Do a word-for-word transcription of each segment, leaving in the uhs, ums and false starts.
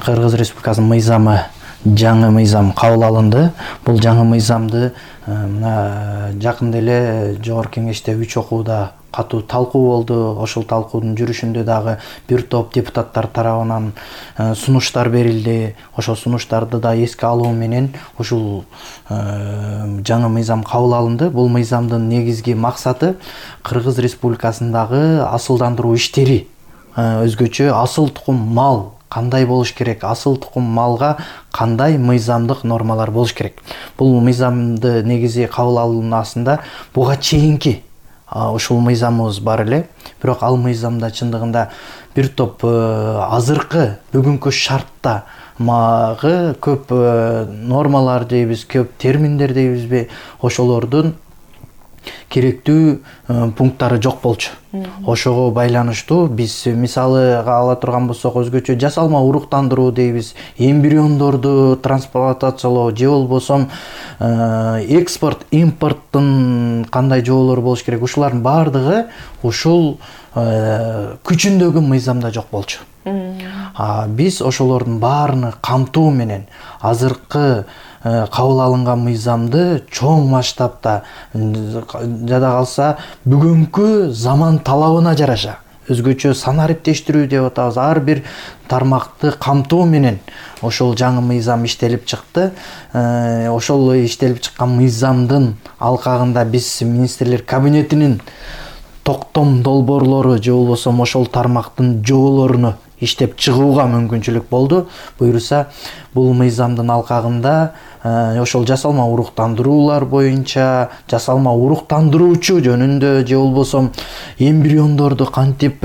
Кыргыз Республикасынын мыйзамы жаңы мыйзам кабыл алынды. Бул жаңы мыйзамды мына жакында эле Жогорку Кеңеште үч окууда катуу талкуу болду. Ошол талкуунун жүрүшүндө дагы бир топ депутаттар тарабынан сунуштар берилди. Ошол сунуштарды да эске алуу менен ушул жаңы мыйзам кабыл алынды. Бул мыйзамдын негизги максаты Кыргыз Республикасындагы асылдандыруу иштери, өзгөчө асыл тукум мал кандай болуш керек, асыл тукум малга кандай мыйзамдык нормалар болуш керек. Бул мыйзамды негизи кабыл алынуусунда буга чейинки ушул мыйзамыбыз бар эле. Бирок ал мыйзамда чындыгында бир топ азыркы бүгүнкү шартта магы көп нормалар дейбиз, көп терминдер дейбизби, ошолордун керектүү пункттары жок болчу. Ошого байланыштуу биз мисалы ала турган болсок, өзгөчө жасалма уруктандыруу дейбиз, эмбриондорду трансплантациялоо же болбосо экспорт, импорттун кандай жоолору болуш керек, ушулардын баардыгы ушул күчүндөгү мыйзамда жок болчу. Биз ошолордун баарыны камтуу менен азыркы кабыл алынган мыйзамды чоң масштабта, жада калса бүгүнкү заман талабына жараша өзгөчө санариптештирүү деп атабыз, ар бир тармакты камтуу менен ошол жаңы мыйзам иштелип чыкты. Ошол иштелип чыккан мыйзамдын алкагында биз министрлер кабинетинин токтом долбоорлору же болбосо ошол тармактын жоолоруну иштеп чыгууга мүмкүнчүлүк болду. Буюрса, бул мыйзамдын алкагында ошол жасалма уруктандыруулар боюнча, жасалма уруктандыруучу жөнүндө же болбосо эмбриондорду кантип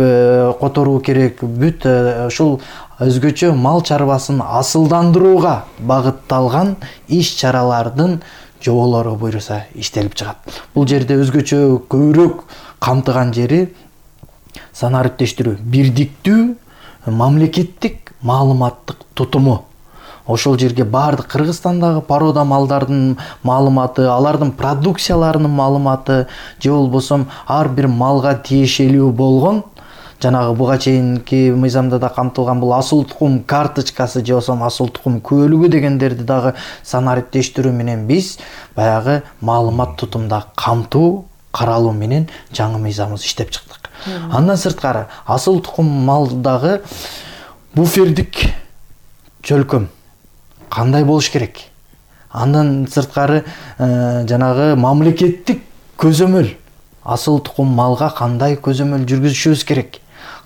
которуу керек, бүт ушул өзгөчө мал чарбасын асылдандырууга багытталган иш-чаралардын жоболору буюрса иштелип чыгат. Бул жерде өзгөчө көбүрөөк камтыган жери санариптештирүү, бирдиктүү мамлекеттик маалыматтык тутуму. Ошол жерге баардык Кыргызстандагы порода малдардын маалыматы, алардын продукцияларынын маалыматы же болбосо ар бир малга тиешелүү болгон, жанагы буга чейинки мыйзамда да камтылган бул асыл тукум карточкасы же болбосо асыл тукум күбөлүгү дегендерди дагы санариптештирүү менен биз баягы маалымат тутумда камтуу каралуу менен жаңы мыйзамыбызды иштеп чыктык. Андан сырткары асыл тукум малдагы буфердик чөлкөм кандай болуш керек? Андан сырткары жанагы мамлекеттик көзөмөл, асыл тукум малга кандай көзөмөл жүргүзүшүбүз керек?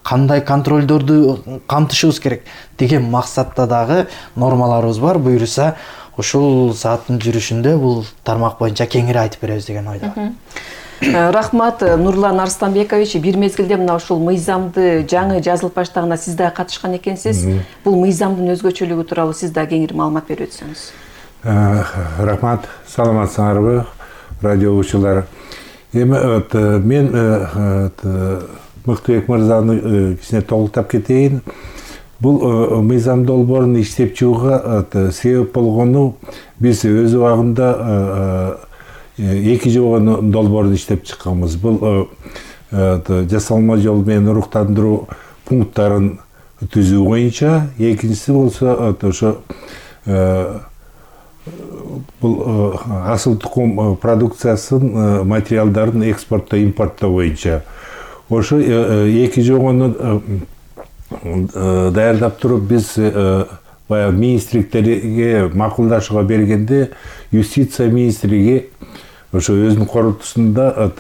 Кандай контролдорду камтышыбыз керек деген максатта дагы нормаларыбыз бар. Буюрса, ушул сааттын жүрүшүндө бул тармак боюнча кеңири айтып беребиз деген ойдомун. Рахмат, Нурлан Арстанбекович. Бир мезгилде мына ушул мыйзамды жаңы жазылып баштаганда сиз да катышкан экенсиз. Бул мыйзамдын өзгөчөлүгү тууралуу сиз да кеңири маалымат берип өтсөңүз. Рахмат, саламатсыңарбы, радио угуучулар. Эми мен Мыктыбек мырзаны кичине толуктап кетейин. Бул мыйзам долбоорун иштеп чыгууга себеп болгону биз өз убагында эки жобо долбоорун иштеп чыкканбыз. Бул жасалма жол менен уруктандыруу пункттарын түзүү боюнча, экинчиси болсо ошо бул асыл тукум продукциясын, материалдарын экспорттоо, импорттоо боюнча. Ошо эки жобону даярдап туруп биз баягы министрликтерге макулдашууга бергенде, юстиция министрлиги ошо өзүнүн корутуусунда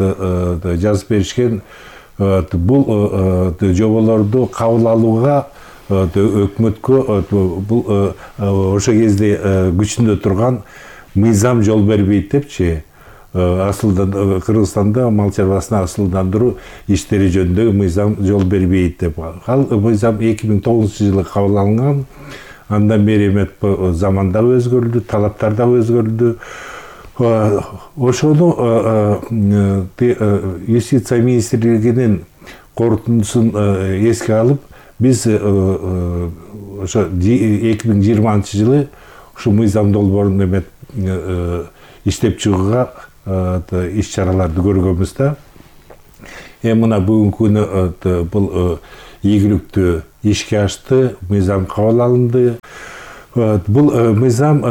жазып беришкен, бул жоболорду кабыл алууга өкмөткө бул ошо кезде күчүндө турган мыйзам жол бербейт депчи. Асылдан Кыргызстанда мал чарбасына асылдандыруу иштери жөнүндө мыйзам жол бербейт деп. Ал мыйзам эки миң тогузунчу жылы кабыл алынган. Андан бери эметип заман да өзгөрдү, талаптар да өзгөрдү. Ошону юстиция министрлигинин корутундусун эске алып, биз ошо эки миң жыйырманчы жылы ушул мыйзам долбоорун эметип иштеп чыгууга иш-чараларды көргөнбүз да. Эми мына бүгүнкү күнү бул ийгиликтүү ишке ашты, мыйзам кабыл алынды. Бул мыйзам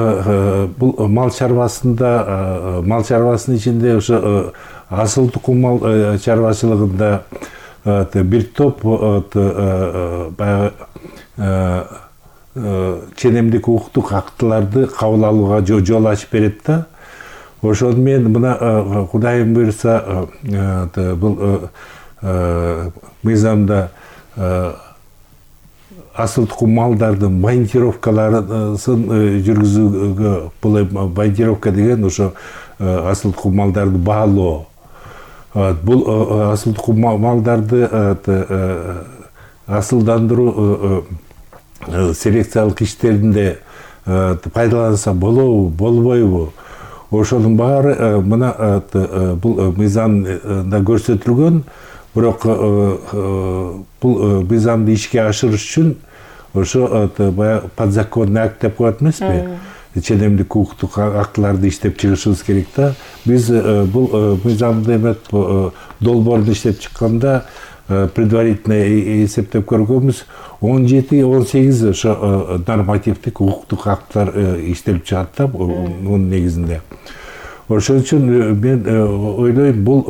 бул мал чарбасында, мал чарбасынын ичинде ошо асыл тукум мал чарбачылыгында бир топ баягы ченемдик укуктук актыларды кабыл алууга жол ачып берет да. Ошону мен мына Кудайым буйрса бул мыйзамда асыл тукум малдардын монтировкаларын жүргүзүүгө, бул монтировка деген ошо асыл тукум малдарды баалоо. Бул асыл тукум малдарды асылдандыруу селекциялык иштеринде пайдаланса болобу, болбойбу? Ошонун баары мына бул мыйзамда көрсөтүлгөн. Бирок бул мыйзамды ишке ашырыш үчүн ошо баягы подзаконный акт деп коет эмеспи? Ченемдик укуктук актыларды иштеп чыгышыбыз керек да. Биз бул мыйзамды эметип долбоорду иштеп чыкканда предварительно эсептеп көргөнбүз, он жети он сегиз ошо нормативдик укуктук актылар иштелип чыгат да мунун негизинде. Ошон үчүн мен ойлойм, бул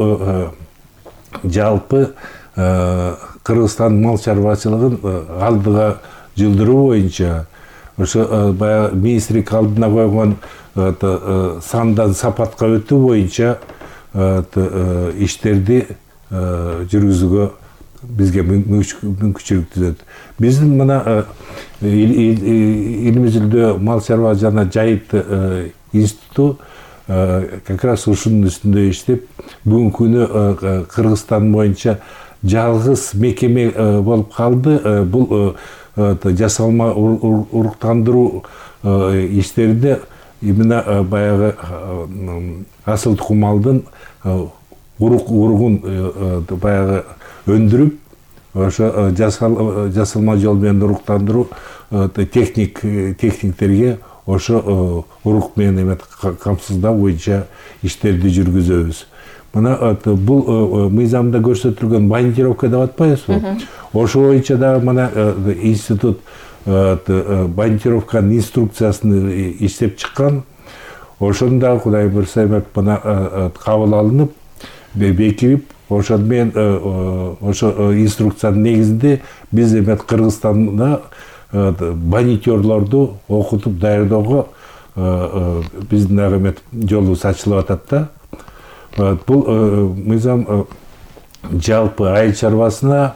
жалпы Кыргызстан мал чарбачылыгын алдыга жылдыруу боюнча ошо баягы министрлик алдына койгон сандан сапатка өтүү боюнча иштерди жүргүзүүгө бизге мүмкүнчүлүк түзөт. Биздин мына Илимизилдөө мал чарба жана жайыт институту как раз ушунун үстүндө иштеп, бүгүнкү күнү Кыргызстан боюнча жалгыз мекеме болуп калды. Бул жасалма уруктандыруу иштеринде именно баягы асыл тукум малдын уругун баягы өндүрүп, ошо жасалма жол менен уруктандыруу техник техниктерге ошо урук менен эметип камсыздоо боюнча иштерди жүргүзөбүз. Мына бул мыйзамда көрсөтүлгөн монтировка деп атпайбызбы? Ошо боюнча дагы мына институт монтировканын инструкциясын иштеп чыккан. Ошону дагы Кудай буйрса эметип мына кабыл алынып, бекирип, ошону менен ошо инструкциянын негизинде биз эметип Кыргызстанда монитерлорду окутуп даярдоого биздин дагы эметип жолубуз ачылып атат да. Бул мыйзам жалпы айыл чарбасына,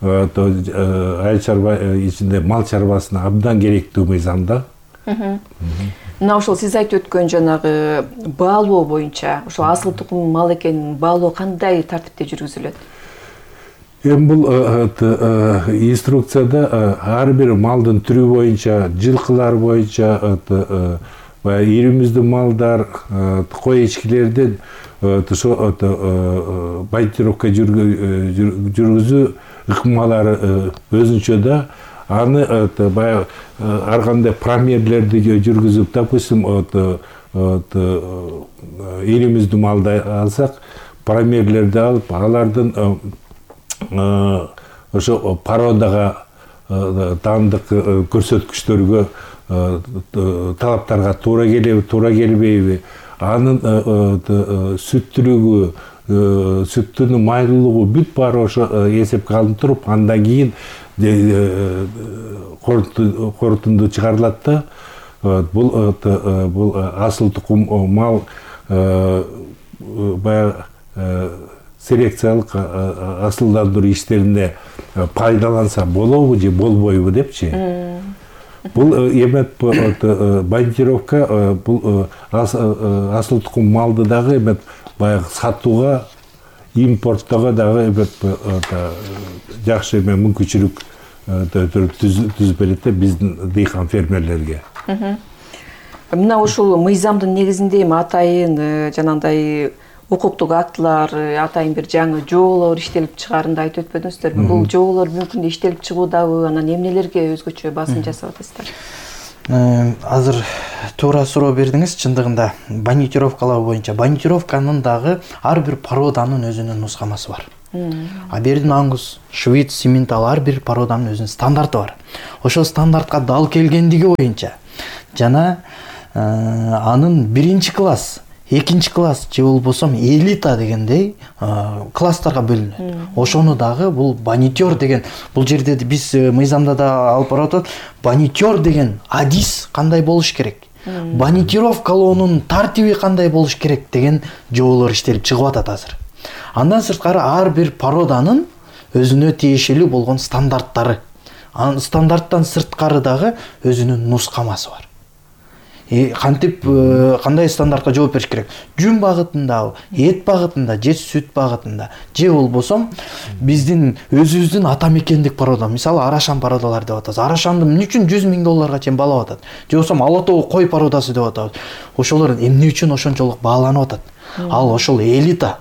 айыл чарба ичинде мал чарбасына абдан керектүү мыйзам да. Мына ошол сиз айтып өткөн жанагы баалоо боюнча, ошо асыл тукум мал экенин баалоо кандай тартипте жүргүзүлөт? Эми бул инструкцияда ар бир малдын түрү боюнча, жылкылар боюнча, ири мүздүү малдар, кой эчкилердин ошо монтировка жүргүзүү ыкмалары өзүнчө да. Аны баягы ар кандай промерлерди жүргүзүп, допустим, ири мүздүү малды алсак, промерлерди алып, алардын ошо породага, таандык көрсөткүчтөргө, талаптарга туура келеби, туура келбейби, анын сүттүүлүгү, сүттүнүн майлуулугу бүт баары ошо эсепке алынып туруп, андан кийин корутунду чыгарылат да. Бул бул асыл тукум мал баягы селекциялык асылдандыруу иштеринде пайдаланса болобу же болбойбу депчи. Бул эметип монтировка бул асыл тукум малды дагы эметип баягы сатууга, импорттоого дагы эметип жакшы эме мүмкүнчүлүк түзүп берет да биздин дыйкан фермерлерге. Мына ушул мыйзамдын негизинде эми атайын жанагындай укуктук актылар, атайын бир жаңы жоолор иштелип чыгаарында айтып өтпөдүңүздөрбү? Бул жоолор бүгүнкү күндө иштелип чыгуудабы, анан эмнелерге өзгөчө басым жасап атасыздар? Азыр туура суроо бердиңиз. Чындыгында монтировкалоо боюнча монтировканын дагы ар бир породанын өзүнүн нускамасы бар. Абердин Ангус, Швейц, Симментал ар бир породанын өзүнүн стандарты бар. Ошол стандартка дал келгендиги боюнча жана анын биринчи класс, экинчи класс же болбосо элита дегендей класстарга бөлүнөт. Ошону дагы бул банитер деген, бул жерде биз мыйзамда да алып барып атат. Банитер деген адис кандай болуш керек, банитировкалоонун тартиби кандай болуш керек деген жоболор иштелип чыгып атат азыр. Андан сырткары ар бир породанын өзүнө тиешелүү болгон стандарттары, анын стандарттан сырткары дагы өзүнүн нускамасы бар. И кантип кандай стандартка жооп бериш керек? Жүн багытында, эт багытында, же сүт багытында, же болбосо биздин өзүбүздүн ата мекендик порода, мисалы арашан породалар деп атабыз. Арашанды эмне үчүн жүз миң долларга чейин баалап атат? Же болбосо ала тоо кой породасы деп атабыз. Ошолор эмне үчүн ошончолук бааланып атат? Ал ошол элита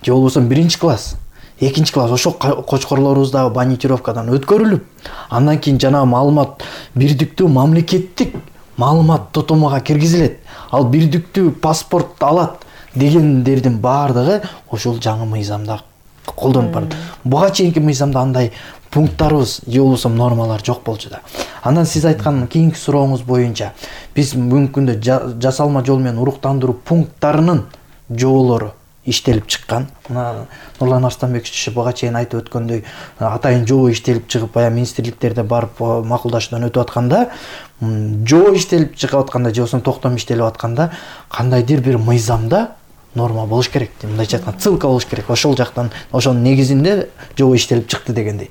же болбосо биринчи класс, экинчи класс ошол кочкорлорубуз дагы банитировкадан өткөрүлүп, андан кийин жанагы маалымат бирдиктүү мамлекеттик маалымат тотомуга киргизилет. Ал бирдиктүү паспорт алат дегендердин баардыгы ошол жаңы мыйзамда колдонуп барат. Буга чейинки мыйзамда андай пункттарыбыз же болбосо нормалар жок болчу да. Андан сиз айткан кийинки сурооңуз боюнча биз бүгүнкү күндө жасалма жол менен уруктандыруу пункттарынын жоболору иштелип чыккан. Мына Нурлан Арстанбекович буга чейин айтып өткөндөй атайын жобо иштелип чыгып, баягы министрликтерде барып макулдашуудан өтүп атканда, жобо иштелип чыгып атканда, же болбосо токтом иштелип атканда кандайдыр бир мыйзамда норма болуш керек. Мындайча айтканда ссылка болуш керек. Ошол жактан, ошонун негизинде жобо иштелип чыкты дегендей.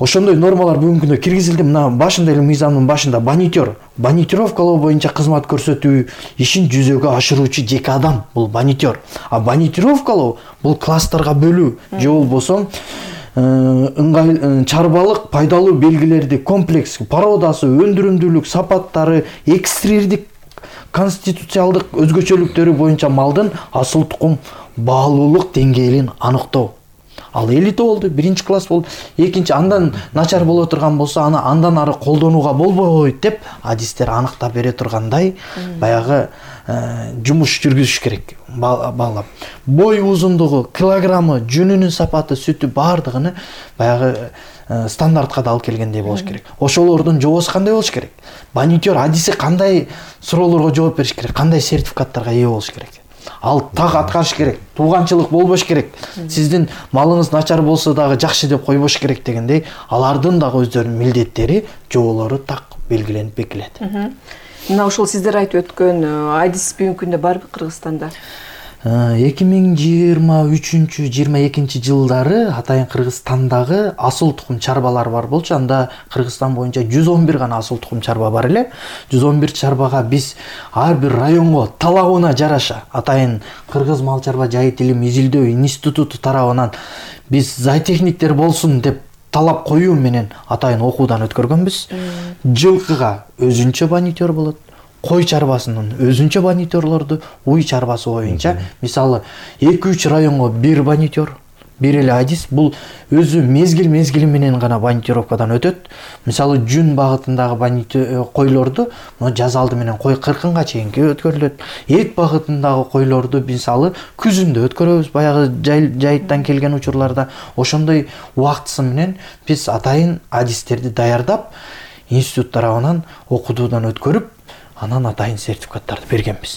Ошондой нормалар бүгүнкү күндө киргизилди. Мына башында эле мыйзамдын башында банитер, банитировкалоо боюнча кызмат көрсөтүү ишин жүзөгө ашыруучу жеке адам бул банитер. А банитировкалоо бул класстарга бөлүү же болбосо ыңгай чарбалык пайдалуу белгилерди комплекс породасы, өндүрүмдүүлүк сапаттары, экстрирдик конституциалдык өзгөчөлүктөрү боюнча малдын асыл тукум баалуулук деңгээлин аныктоо. Ал элита болду, биринчи класс болду. Экинчи андан начар боло турган болсо, аны андан ары колдонууга болбойт деп адистер аныктап бере тургандай баягы жумуш жүргүзүш керек, баалап. Бой узундугу, килограммы, жүнүнүн сапаты, сүтү баардыгыны баягы стандартка да алып келгендей болуш керек. Ошолордун жобосу кандай болуш керек? Банитер адиси кандай суроолорго жооп бериш керек? Кандай сертификаттарга ээ болуш керек? Ал так аткарыш керек, тууганчылык болбош керек. Сиздин малыңыз начар болсо дагы жакшы деп койбош керек дегендей, алардын дагы өздөрүнүн милдеттери, жоболору так белгиленип бекилет. Мына ошол сиздер айтып өткөн адис бүгүнкү күндө барбы Кыргызстанда? эки миң жыйырма үчүнчү жыйырма экинчи жылдары атайын Кыргызстандагы асыл тукум чарбалар бар болчу. Анда Кыргызстан боюнча жүз он бир гана асыл тукум чарба бар эле. жүз он бир чарбага биз ар бир районго талабына жараша атайын Кыргыз мал чарба жайыт илим изилдөө институту тарабынан биз зоотехниктер болсун деп талап коюу менен атайын окуудан өткөргөнбүз. Жылкыга өзүнчө банитер болот. Кой чарбасынын өзүнчө банитерлорду, уй чарбасы боюнча мисалы эки үч районго бир банитер, бир эле адис. Бул өзү мезгил мезгили менен гана банитировкадан өтөт. Мисалы жүн багытындагы банитер койлорду жаз алды менен кой кыркынга чейинки өткөрүлөт. Эт багытындагы койлорду мисалы күзүндө өткөрөбүз. Баягы жайыттан келген учурларда ошондой убактысы менен биз атайын адистерди даярдап, институт тарабынан окутуудан өткөрүп, анан атайын сертификаттарды бергенбиз.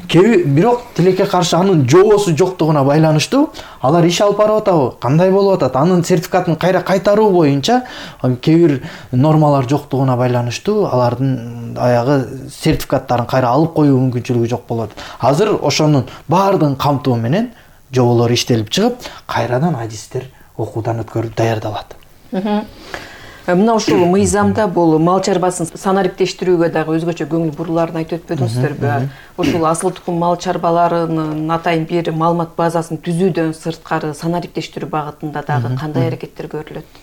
Кеби бирок тилекке каршы анын жобосу жоктугуна байланыштуу алар иш алып барып атабы, кандай болуп атат, анын сертификатын кайра кайтаруу боюнча кээ бир нормалар жоктугуна байланыштуу алардын аягы сертификаттарын кайра алып коюу мүмкүнчүлүгү жок болот. Азыр ошонун баардыгын камтоо менен жоболор иштелип чыгып, кайрадан адистер окуудан өткөрүп даярдалат. Мына ушул мыйзамда бул мал чарбасын санариптештирүүгө дагы өзгөчө көңүл буруларын айтып өтпөдүңүздөрбү? Ушул асыл тукум мал чарбаларынын атайын бир маалымат базасын түзүүдөн сырткары санариптештирүү багытында дагы кандай аракеттер көрүлөт?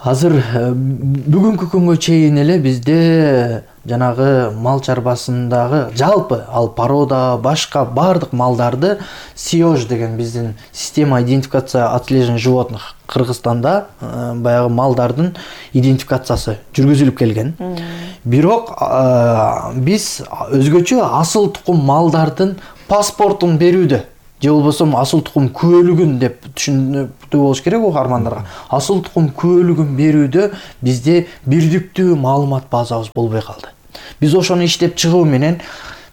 Азыр бүгүнкү күнгө чейин эле бизде жанагы мал чарбасындагы жалпы ал порода, башка бардык малдарды СИОЖ деген биздин система идентификация отслеживания животных Кыргызстанда баягы малдардын идентификациясы жүргүзүлүп келген. Бирок биз өзгөчө асыл тукум малдардын паспортун берүүдө же болбосо асыл тукум күбөлүгүн деп түшүнүктүү болуш керек угармандарга. Асыл тукум күбөлүгүн берүүдө бизде бирдиктүү маалымат базабыз болбой калды. Биз ошону иштеп чыгуу менен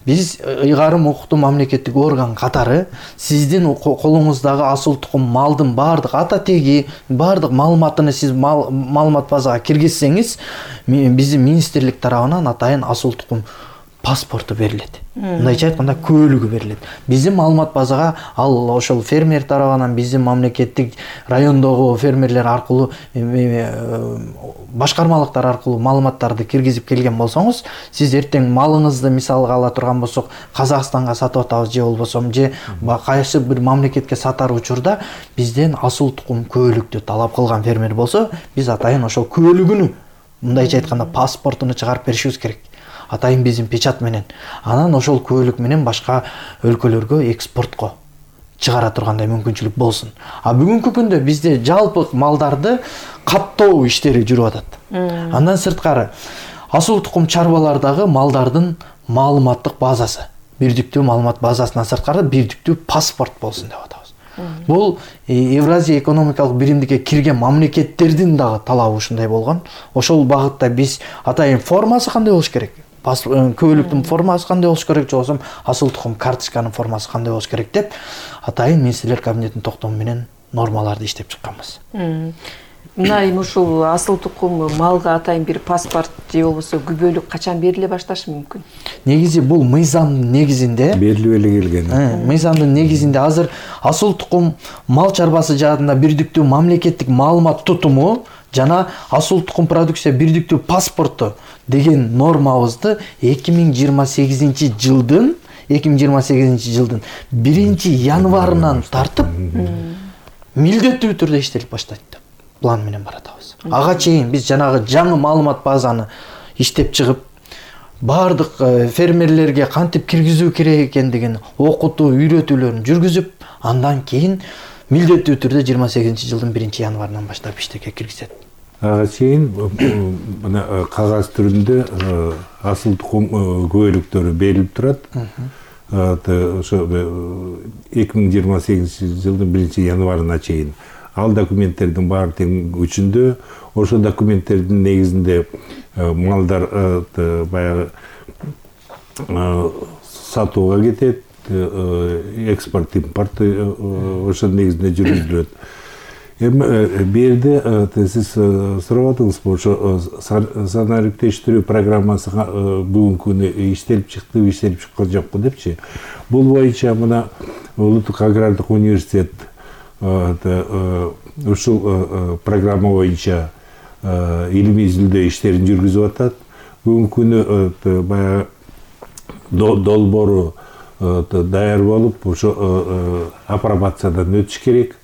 биз ыйгарым укуктуу мамлекеттик орган катары сиздин колуңуздагы асыл тукум малдын баардык ата теги, баардык маалыматыны сиз маалымат базага киргизсеңиз, биздин министрлик тарабынан атайын асыл тукум паспорту берилет. Мындайча айтканда күбөлүгү берилет. Биздин маалымат базага ал ошол фермер тарабынан биздин мамлекеттик райондогу фермерлер аркылуу башкармалыктар аркылуу маалыматтарды киргизип келген болсоңуз, сиз эртең малыңызды мисалга ала турган болсок, Казакстанга сатып атабыз же болбосо же кайсы бир мамлекетке сатар учурда бизден асыл тукум күбөлүктү талап кылган фермер болсо, биз атайын ошол күбөлүгүнү, мындайча айтканда паспортуну чыгарып беришибиз керек. Атайын биздин печат менен. Анан ошол күбөлүк менен башка өлкөлөргө экспортко чыгара тургандай мүмкүнчүлүк болсун. А бүгүнкү күндө бизде жалпы малдарды каттоо иштери жүрүп атат. Андан сырткары асыл тукум чарбалардагы малдардын маалыматтык базасы, бирдиктүү маалымат базасынан сырткары бирдиктүү паспорт болсун деп атабыз. Бул Евразия экономикалык биримдикке кирген мамлекеттердин дагы талабы ушундай болгон. Ошол багытта биз атайын формасы кандай болуш керек? Күбөлүктүн формасы кандай болуш керек, же болбосо асыл тукум карточканын формасы кандай болуш керек деп атайын министрлер кабинетинин токтому менен нормаларды иштеп чыкканбыз. Мына эми ушул асыл тукум малга атайын бир паспорт же болбосо күбөлүк качан бериле башташы мүмкүн? Негизи бул мыйзамдын негизинде берилип эле келген. Мыйзамдын негизинде азыр асыл тукум мал чарбасы жаатында бирдиктүү мамлекеттик маалымат тутуму жана асыл тукум продукция бирдиктүү паспорту деген нормабызды эки миң жыйырма сегизинчи жылдын эки миң жыйырма сегизинчи жылдын биринчи январынан тартып милдеттүү түрдө иштелип баштайт деп план менен баратабыз. Ага чейин биз жанагы жаңы маалымат базаны иштеп чыгып, баардык фермерлерге кантип киргизүү керек экендигин окутуу, үйрөтүүлөрүн жүргүзүп, андан кийин милдеттүү түрдө жыйырма сегизинчи жылдын биринчи январынан баштап иштекке киргизет. Ага чейин мына кагаз түрүндө асыл тукум күбөлүктөрү берилип турат. Ошо эки миң жыйырма сегизинчи жылдын биринчи январына чейин. Ал документтердин баары тең күчүндө, ошол документтердин негизинде малдар баягы сатууга кетет, экспорт, импорт ошол негизинде жүргүзүлөт. Эми берде сиз сурап атыңызбы, ошо санариптештирүү программасы бүгүнкү күнү иштелип чыкты, иштелип чыккан жокпу депчи. Бул боюнча мына Улуттук агрардык университет ушул программа боюнча илимий изилдөө иштерин жүргүзүп атат. Бүгүнкү күнү баягы долбоору даяр болуп, ошо апробациядан өтүш керек.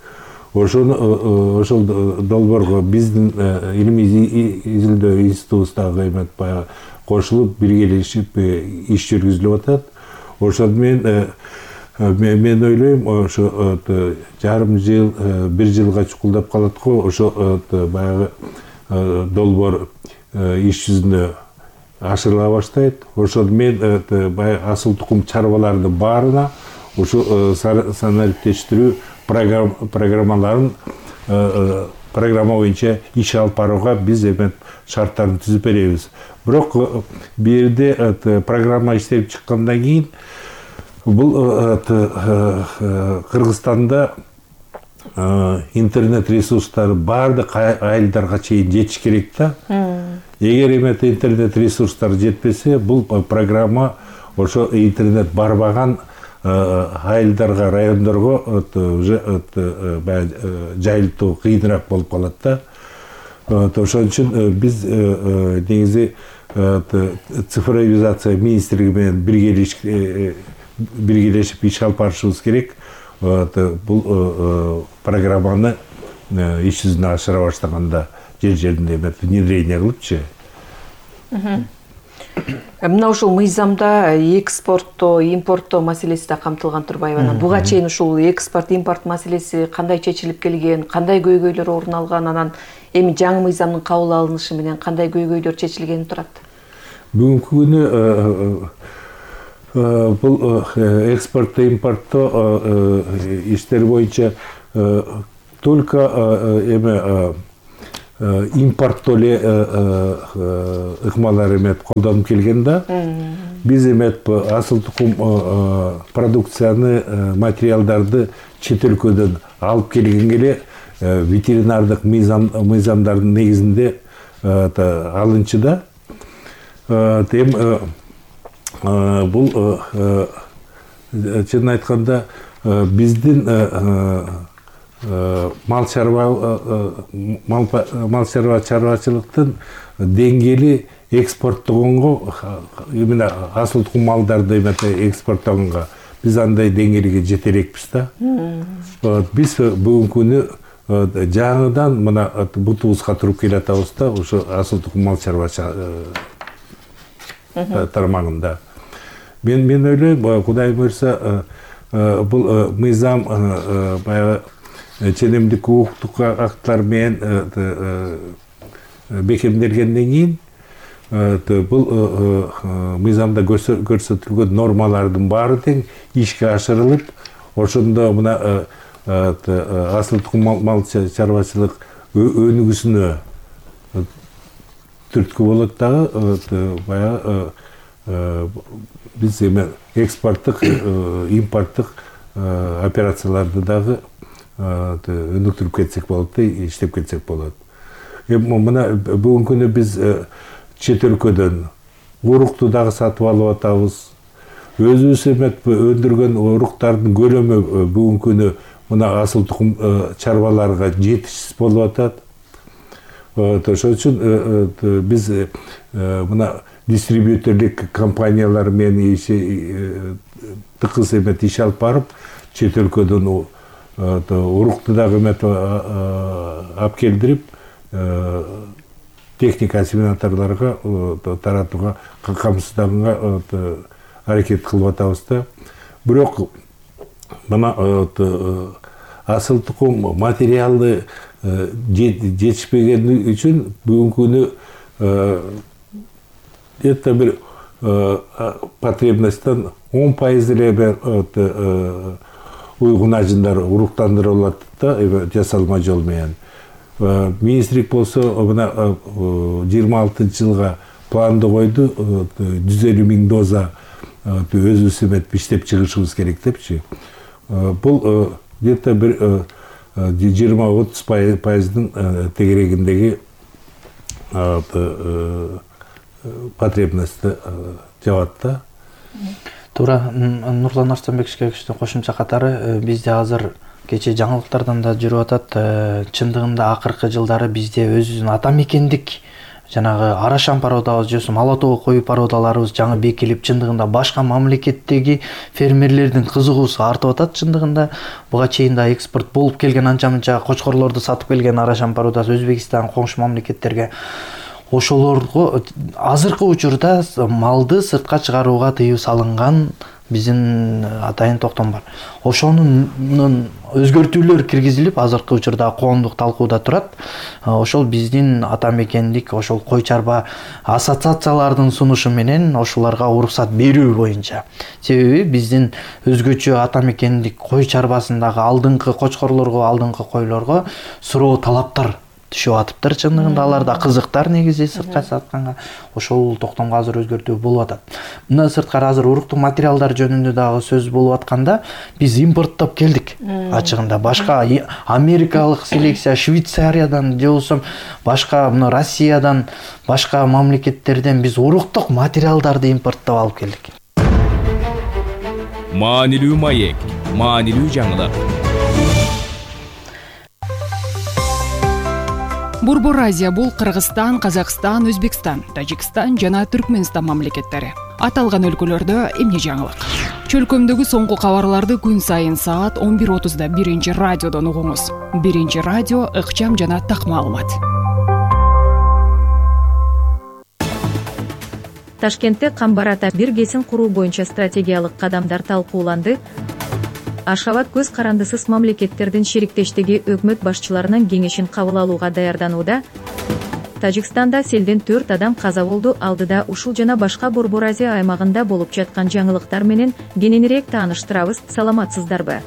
Ошону ошол долбоорго биздин илимий изилдөө институтубуздагы эметип баягы кошулуп, биргелешип иш жүргүзүлүп атат. Ошону менен мен ойлойм, ошо жарым жыл, бир жылга чукулдап калат го, ошо баягы долбоор иш жүзүнө ашырыла баштайт. Ошону менен баягы асыл тукум чарбалардын баарына ошо санариптештирүү программаларын программа боюнча иш алып барууга биз эми шарттарын түзүп беребиз. Бирок бу жерде программа иштелип чыккандан кийин бул Кыргызстанда интернет ресурстары баардык айылдарга чейин жетиш керек да. Эгер эмети интернет ресурстары жетпесе, бул программа ошо интернет барбаган айылдарга, райондорго уже жайылтуу кыйыныраак болуп калат да. Ошон үчүн биз негизи цифровизация министрлиги менен биргелешип иш алып барышыбыз керек. Бул программаны иш жүзүнө ашыра баштаганда жер жеринде внедрение кылыпчы. Мына ушул мыйзамда экспорттоо, импорттоо маселеси да камтылган турбайбы? Буга чейин ушул экспорт, импорт маселеси кандай чечилип келген, кандай көйгөйлөр орун алган, анан эми жаңы мыйзамдын кабыл алынышы менен кандай көйгөйлөр чечилгени турат? Бүгүнкү күнү бул экспортто импорттоо иштери боюнча только эме импорттоо эле ыкмалар эмет колдонуп келген да. Биз эмет асыл тукум продукцияны, материалдарды чет өлкөдөн алып келгенге эле ветеринардык мыйзамдардын негизинде алынчу да. Эми бул чынын айтканда биздин мал чарбачылыктын деңгээли экспорттогонго, именно асыл тукум малдарды экспорттогонго биз андай деңгээлге жете элекпиз да. Биз бүгүнкү күнү жаңыдан мына бутубузга туруп келатабыз да, ошо асыл тукум мал чарбачы тармагында. Мен мен ойлойм, Кудай буйрса, бул мыйзам баягы ченемдик укуктук акттар менен бекемделгенден кийин бул мыйзамда көрсөтүлгөн нормалардын баары тең ишке ашырылып, ошондо мына асыл тукум мал чарбачылык өнүгүүсүнө түрткү болот дагы. Баягы биз эме экспорттук, импорттук операцияларды дагы өнүктүрүп кетсек болот да, иштеп кетсек болот. Мына бүгүнкү күнү биз чет өлкөдөн урукту дагы сатып алып атабыз. Өзүбүз эмет өндүргөн уруктардын көлөмү бүгүнкү күнү мына асыл тукум чарбаларга жетишсиз болуп атат. Ошон үчүн биз мына дистрибьюторлук компаниялар менен тыкыз эмет иш алып барып, чет өлкөдөн урукту дагы эмет алып келдирип, техника ассимиляторлорго таратууга, камсызданганга аракет кылып атабыз да. Бирок мына асыл тукум материалды жетишпегени үчүн бүгүнкү күнү где-то бир потребностьтан он пайыз эле уйгун ажындар уруктандырылат да, жасалма жол менен. Министрлик болсо мына жыйырма алтынчы жылга планды койду, жүз элүү миң доза өзүбүз эмет иштеп чыгышыбыз керек депчи. Бул где-то бир жыйырма отуз пайыздын тегерегиндеги потребностьты жабат да. Туура, Нурлан Арстанбековичтин кошумча катары бизде азыр кечээ жаңылыктардан да жүрүп атат. Чындыгында акыркы жылдары бизде өзүбүздүн ата мекендик жанагы арашан породабыз же ала тоо кою породаларыбыз жаңы бекилип, чындыгында башка мамлекеттеги фермерлердин кызыгуусу артып атат. Чындыгында буга чейин да экспорт болуп келген анча-мынча кочкорлорду сатып келген арашан породасы Өзбекстан, коңшу мамлекеттерге. Ошолорго азыркы учурда малды сыртка чыгарууга тыюу салынган биздин атайын токтом бар. Ошонун өзгөртүүлөр киргизилип, азыркы учурда коомдук талкууда турат. Ошол биздин ата мекендик ошол кой чарба ассоциациялардын сунушу менен ошолорго уруксат берүү боюнча. Себеби биздин өзгөчө ата мекендик кой чарбасындагы алдыңкы кочкорлорго, алдыңкы койлорго суроо талаптар түшүп атыптыр. Чындыгында алар да кызыктар негизи сыртка сатканга. Ошол токтомго азыр өзгөртүү болуп атат. Мына сырткары азыр уруктук материалдар жөнүндө дагы сөз болуп атканда, биз импорттоп келдик. Ачыгында башка америкалык селекция, Швейцариядан же болсо башка мына Россиядан, башка мамлекеттерден биз уруктук материалдарды импорттоп алып келдик. Маанилүү маек, маанилүү жаңылык. Борбор Азия бул Кыргызстан, Казакстан, Өзбекстан, Тажикстан жана Түркмөнстан мамлекеттери. Аталган өлкөлөрдө эмне жаңылык? Чөлкөмдөгү соңку кабарларды күн сайын саат он бир отузда биринчи радиодон угуңуз. Биринчи радио ыкчам жана так маалымат. Ташкентте Камбар ата биргесин куруу боюнча стратегиялык кадамдар талкууланды. Ашхабад көз карандысыз мамлекеттердин шериктештиги өкмөт башчыларынын кеңешин кабыл алууга даярданууда. Тажикстанда селден төрт адам каза болду. Алдыда ушул жана башка Борбор Азия аймагында болуп жаткан жаңылыктар менен кененирээк тааныштырабыз. Саламатсыздарбы?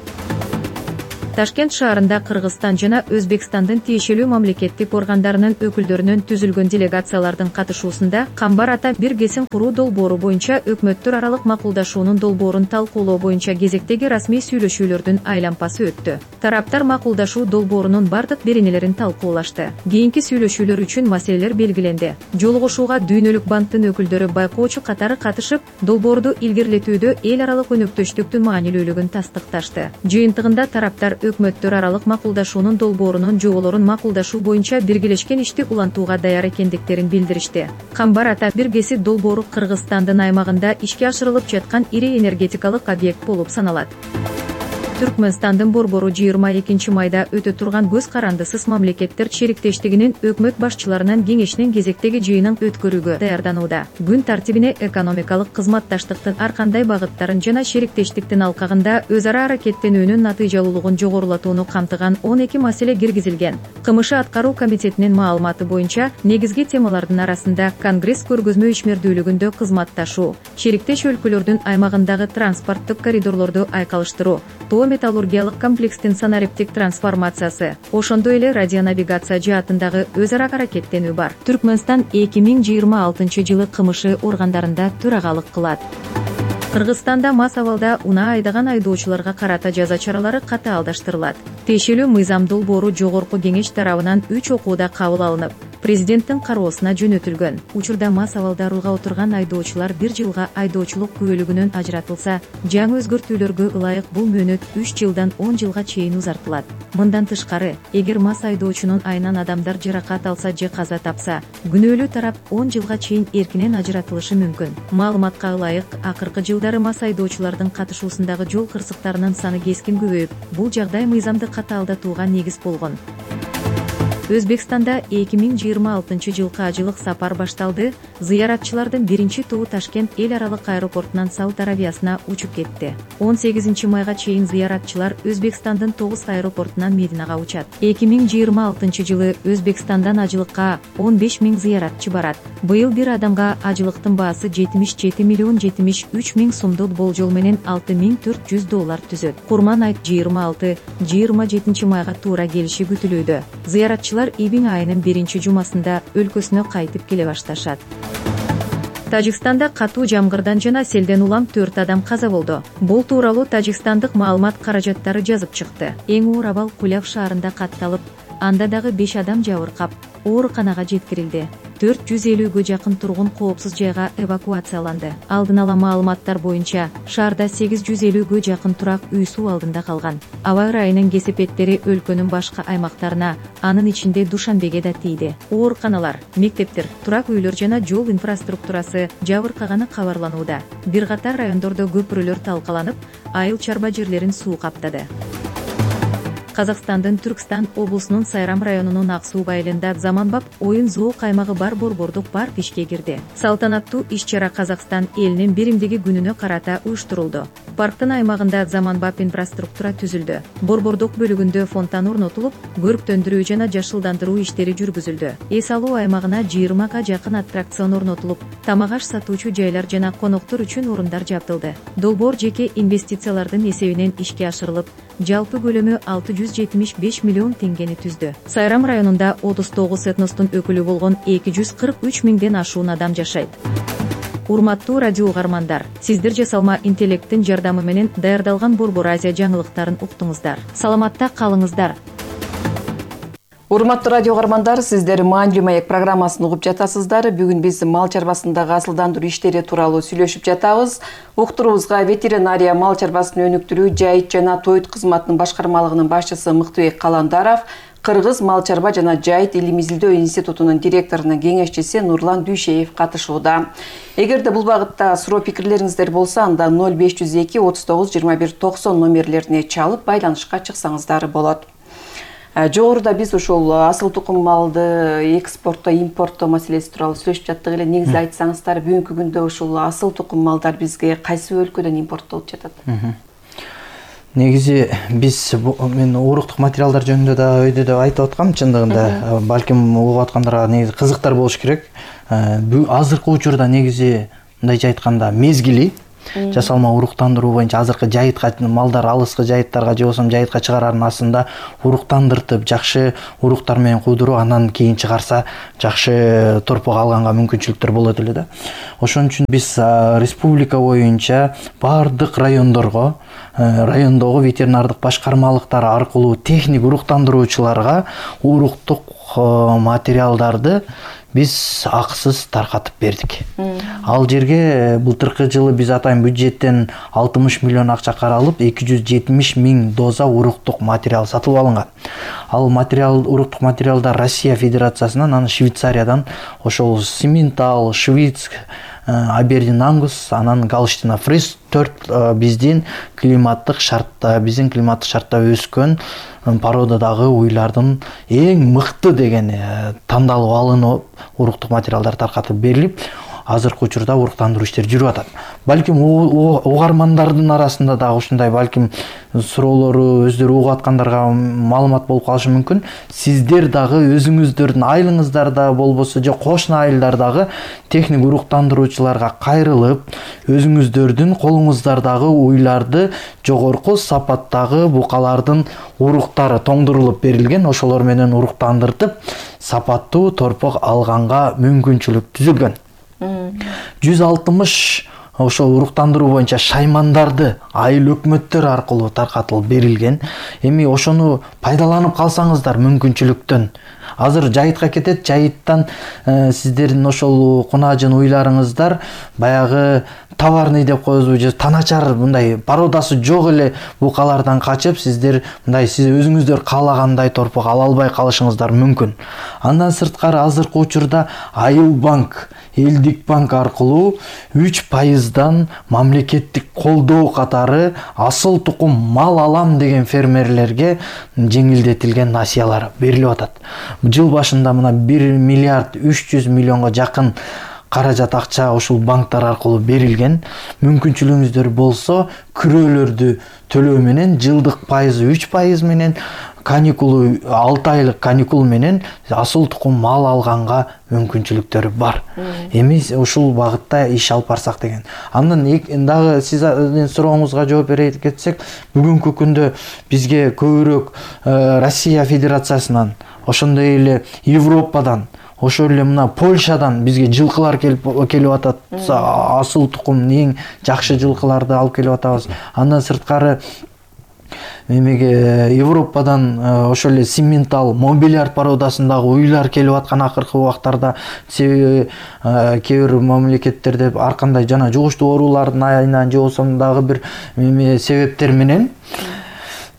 Ташкент шаарында Кыргызстан жана Өзбекстандын тиешелүү мамлекеттик органдарынын өкүлдөрүнөн түзүлгөн делегациялардын катышуусунда Камбар ата бир кесим куруу долбоору боюнча өкмөттөр аралык макулдашуунун долбоорун талкуулоо боюнча кезектеги расмий сүйлөшүүлөрдүн айлампасы өттү. Тараптар макулдашуу долбоорунун бардык беренелерин талкуулашты. Кийинки сүйлөшүүлөр үчүн маселелер белгиленди. Жолугушууга Дүйнөлүк банктын өкүлдөрү байкоочу катары катышып, долбоорду илгерилетүүдө эл аралык өнөктөштүктүн маанилүүлүгүн тастыкташты. Жыйынтыгында тараптар өкмөттөр аралык макулдашуунун долбоорунун жоболорун макулдашуу боюнча биргелешкен ишти улантууга даяр экендиктерин билдиришти. Камбар ата бир кеси долбоору Кыргызстандын аймагында ишке ашырылып жаткан ири энергетикалык объект болуп саналат. Түркмөнстандын борбору жыйырма экинчи майда өтө турган көз карандысыз мамлекеттер шериктештигинин өкмөт башчыларынын кеңешинин кезектеги жыйынын өткөрүүгө даярданууда. Күн тартибине экономикалык кызматташтыктын ар кандай багыттарын жана шериктештиктин алкагында өз ара аракеттенүүнүн натыйжалуулугун жогорулатууну камтыган он эки маселе киргизилген. КМШ аткаруу комитетинин маалыматы боюнча негизги темалардын арасында Конгресс көргөзмө ишмердүүлүгүндө кызматташуу, шериктеш өлкөлөрдүн аймагындагы транспорттук коридорлорду айкалыштыруу, тоо металлургиялык комплекстин санариптик трансформациясы, ошондой эле радионавигация жаатындагы өз ара аракеттенүү бар. Түркмөнстан эки миң жыйырма алтынчы жылы КМШ органдарында төрагалык кылат. Кыргызстанда мас абалда унаа айдаган айдоочуларга карата жаза чаралары катаалдаштырылат. Тиешелүү мыйзам долбоору жогорку кеңеш тарабынан үч окууда кабыл алынып, президенттин кароосуна жөнөтүлгөн. Учурда мас абалда рулга отурган айдоочулар бир жылга айдоочулук күбөлүгүнөн ажыратылса, жаңы өзгөртүүлөргө ылайык бул мөөнөт үч жылдан он жылга чейин узартылат. Мындан тышкары, эгер мас айдоочунун айынан адамдар жаракат алса же каза тапса, күнөөлүү тарап он жылга чейин эркинен ажыратылышы мүмкүн. Маалыматка ылайык, акыркы жылдары мас айдоочулардын катышуусундагы жол кырсыктарынын саны кескин көбөйүп, бул жагдай мыйзамды катаалдатууга негиз болгон. Өзбекстанда эки миң жыйырма алтынчы жылкы ажылык сапар башталды. Зыяратчылардын биринчи тобу Ташкент эл аралык аэропортунан Сауд Аравиясына учуп кетти. он сегизинчи майга чейин зыяратчылар Өзбекстандын тогуз аэропортунан Мединага учат. эки миң жыйырма алтынчы жылы Өзбекстандан ажылыкка он беш миң зыяратчы барат. Быйыл бир адамга ажылыктын баасы жетимиш жети миллион жетимиш үч миң сомдук болжол менен алты миң төрт жүз доллар түзөт. Курман айт жыйырма алты жыйырма жетинчи майга туура келиши күтүлүүдө. Зыяратчылар июнь айынын биринчи жумасында өлкөсүнө кайтып келе башташат. Тажикстанда катуу жамгырдан жана селден улам төрт адам каза болду. Бул тууралуу тажикстандык маалымат каражаттары жазып чыкты. Эң оор абал Куляв шаарында катталып, анда дагы беш адам жабыркап, ооруканага жеткирилди. төрт жүз элүүгө жакын тургун коопсуз жайга эвакуацияланды. Алдын ала маалыматтар боюнча, шаарда сегиз жүз элүүгө жакын турак үй суу алдында калган. Аба ырайынын кесепеттери өлкөнүн башка аймактарына, анын ичинде Душанбеге да тийди. Ооруканалар, мектептер, турак үйлөр жана жол инфраструктурасы жабыркаганы кабарланууда. Бир катар райондордо көпүрөлөр талкаланып, айыл чарба жерлерин суу каптады. Казакстандын Түркстан облусунун Сайрам районунун Ак суу айылында заманбап оюн зоок аймагы бар борбордук парк ишке кирди. Салтанаттуу иш-чара Казакстан элинин биримдиги күнүнө карата уюштурулду. Парктын аймагында заманбап инфраструктура түзүлдү. Борбордук бөлүгүндө фонтан орнотулуп, көрктөндүрүү жана жашылдандыруу иштери жүргүзүлдү. Эс алуу аймагына жыйырмага жакын аттракцион орнотулуп, тамак аш сатуучу жайлар жана коноктор үчүн орундар жабдылды. Долбоор жеке инвестициялардын эсебинен ишке ашырылып, жалпы көлөмү алты жүз жетимиш беш миллион теңгени түздү. Сайрам районунда отуз тогуз этностун өкүлү болгон эки жүз кырк үч миңден ашуун адам жашайт. Урматтуу радио угармандар, сиздер жасалма интеллекттин жардамы менен даярдалган Борбор Азия жаңылыктарын уктуңуздар. Саламатта калыңыздар. Урматтуу радио угармандар, сиздер Маанилүү маек программасын угуп жатасыздар. Бүгүн биз мал чарбасындагы асылдандыруу иштери тууралуу сүйлөшүп жатабыз. Уктуруубузга ветеринария, мал чарбасын өнүктүрүү, жайыт жана тоют кызматынын башкармалыгынын башчысы Мыктыбек Каландаров, Кыргыз мал чарба жана жайыт илим изилдөө институтунун директорунун кеңешчиси Нурлан Дүйшеев катышууда. Эгерде бул багытта суроо пикирлериңиздер болсо, анда ноль беш жүз эки отуз тогуз жыйырма бир токсон номерлерине чалып байланышка чыксаңыздар болот. Жогоруда биз ушул асыл тукум малды экспортто, импортто маселеси тууралуу сүйлөшүп жаттык эле. Негизи айтсаңыздар, бүгүнкү күндө ушул асыл тукум малдар бизге кайсы өлкөдөн импорттолуп жатат? Негизи биз мен уруктук материалдар жөнүндө да өйдө деп айтып аткам, чындыгында балким угуп аткандарга негизи кызыктар болуш керек. Азыркы учурда негизи мындайча айтканда мезгили жасалма уруктандыруу боюнча азыркы жайытка малдар алыскы жайыттарга же болбосо жайытка чыгарардын астында уруктандыртып жакшы уруктар менен куудуруп анан кийин чыгарса жакшы торпок алганга мүмкүнчүлүктөр болот эле да. Ошон үчүн биз республика боюнча бардык райондорго райондогу ветеринардык башкармалыктар аркылуу техник уруктандыруучуларга уруктук материалдарды биз акысыз таркатып бердик. Ал жерге былтыркы жылы биз атайын бюджеттен алтымыш миллион акча каралып, эки жүз жетимиш миң доза уруктук материал сатылып алынган. Ал материал, уруктук материалдар Россия Федерациясынан, анан Швейцариядан, ошол Симментал, Швиц, Абердин Ангус, анан Галштина Фриз төрт биздин климаттык шартта, биздин климаттык шартта өскөн породадагы уйлардын эң мыкты деген тандалып алынып, уруктук материалдар таркатып берилип, азыркы учурда уруктандыруу иштери жүрүп атат. Балким угармандардын арасында дагы ушундай балким суроолору өздөрү угуп аткандарга маалымат болуп калышы мүмкүн. Сиздер дагы өзүңүздөрдүн айылыңыздарда болбосо же кошуна айылдардагы техник уруктандыруучуларга кайрылып, өзүңүздөрдүн колуңуздардагы уйларды жогорку сапаттагы букалардын уруктары тоңдурулуп берилген, ошолор менен уруктандыртып, сапаттуу торпок алганга мүмкүнчүлүк түзүлгөн. жүз алтымыш ошол уруктандыруу боюнча шаймандарды айыл өкмөттөр аркылуу таркатылып берилген. Эми ошону пайдаланып калсаңыздар мүмкүнчүлүктөн. Азыр жайытка кетет, жайыттан сиздердин ошол кунажын уйларыңыздар баягы товарный деп коебузбу же таначар мындай породасы жок эле букалардан качып, сиздер мындай сиз өзүңүздөр каалагандай торпок ала албай калышыңыздар мүмкүн. Андан сырткары азыркы учурда Айыл банк, Элдик банк аркылуу үч пайыздан мамлекеттик колдоо катары асыл тукум мал алам деген фермерлерге жеңилдетилген насыялар берилип атат. Жыл башында мына бир миллиард үч жүз миллионго жакын каражат акча ушул банктар аркылуу берилген. Мүмкүнчүлүгүңүздөр болсо күрөөлөрдү төлөө менен жылдык пайызы үч пайыз менен каникулу алты айлык каникул менен асыл тукум мал алганга мүмкүнчүлүктөр бар. Эми ушул багытта иш алып барсак деген. Андан дагы сиздин сурооңузга жооп бере кетсек, бүгүнкү күндө бизге көбүрөөк Россия Федерациясынан, ошондой эле Европадан, ошол эле мына Польшадан бизге жылкылар келип келип атат. Асыл тукум эң жакшы жылкыларды алып келип атабыз. Андан сырткары Мемеге Европадан ошол эле Симментал, Мобилиар породасындагы уйлар келип аткан акыркы убактарда. Себеби кээ бир мамлекеттерде ар кандай жана жугуштуу оорулардын айынан же болсо дагы бир себептер менен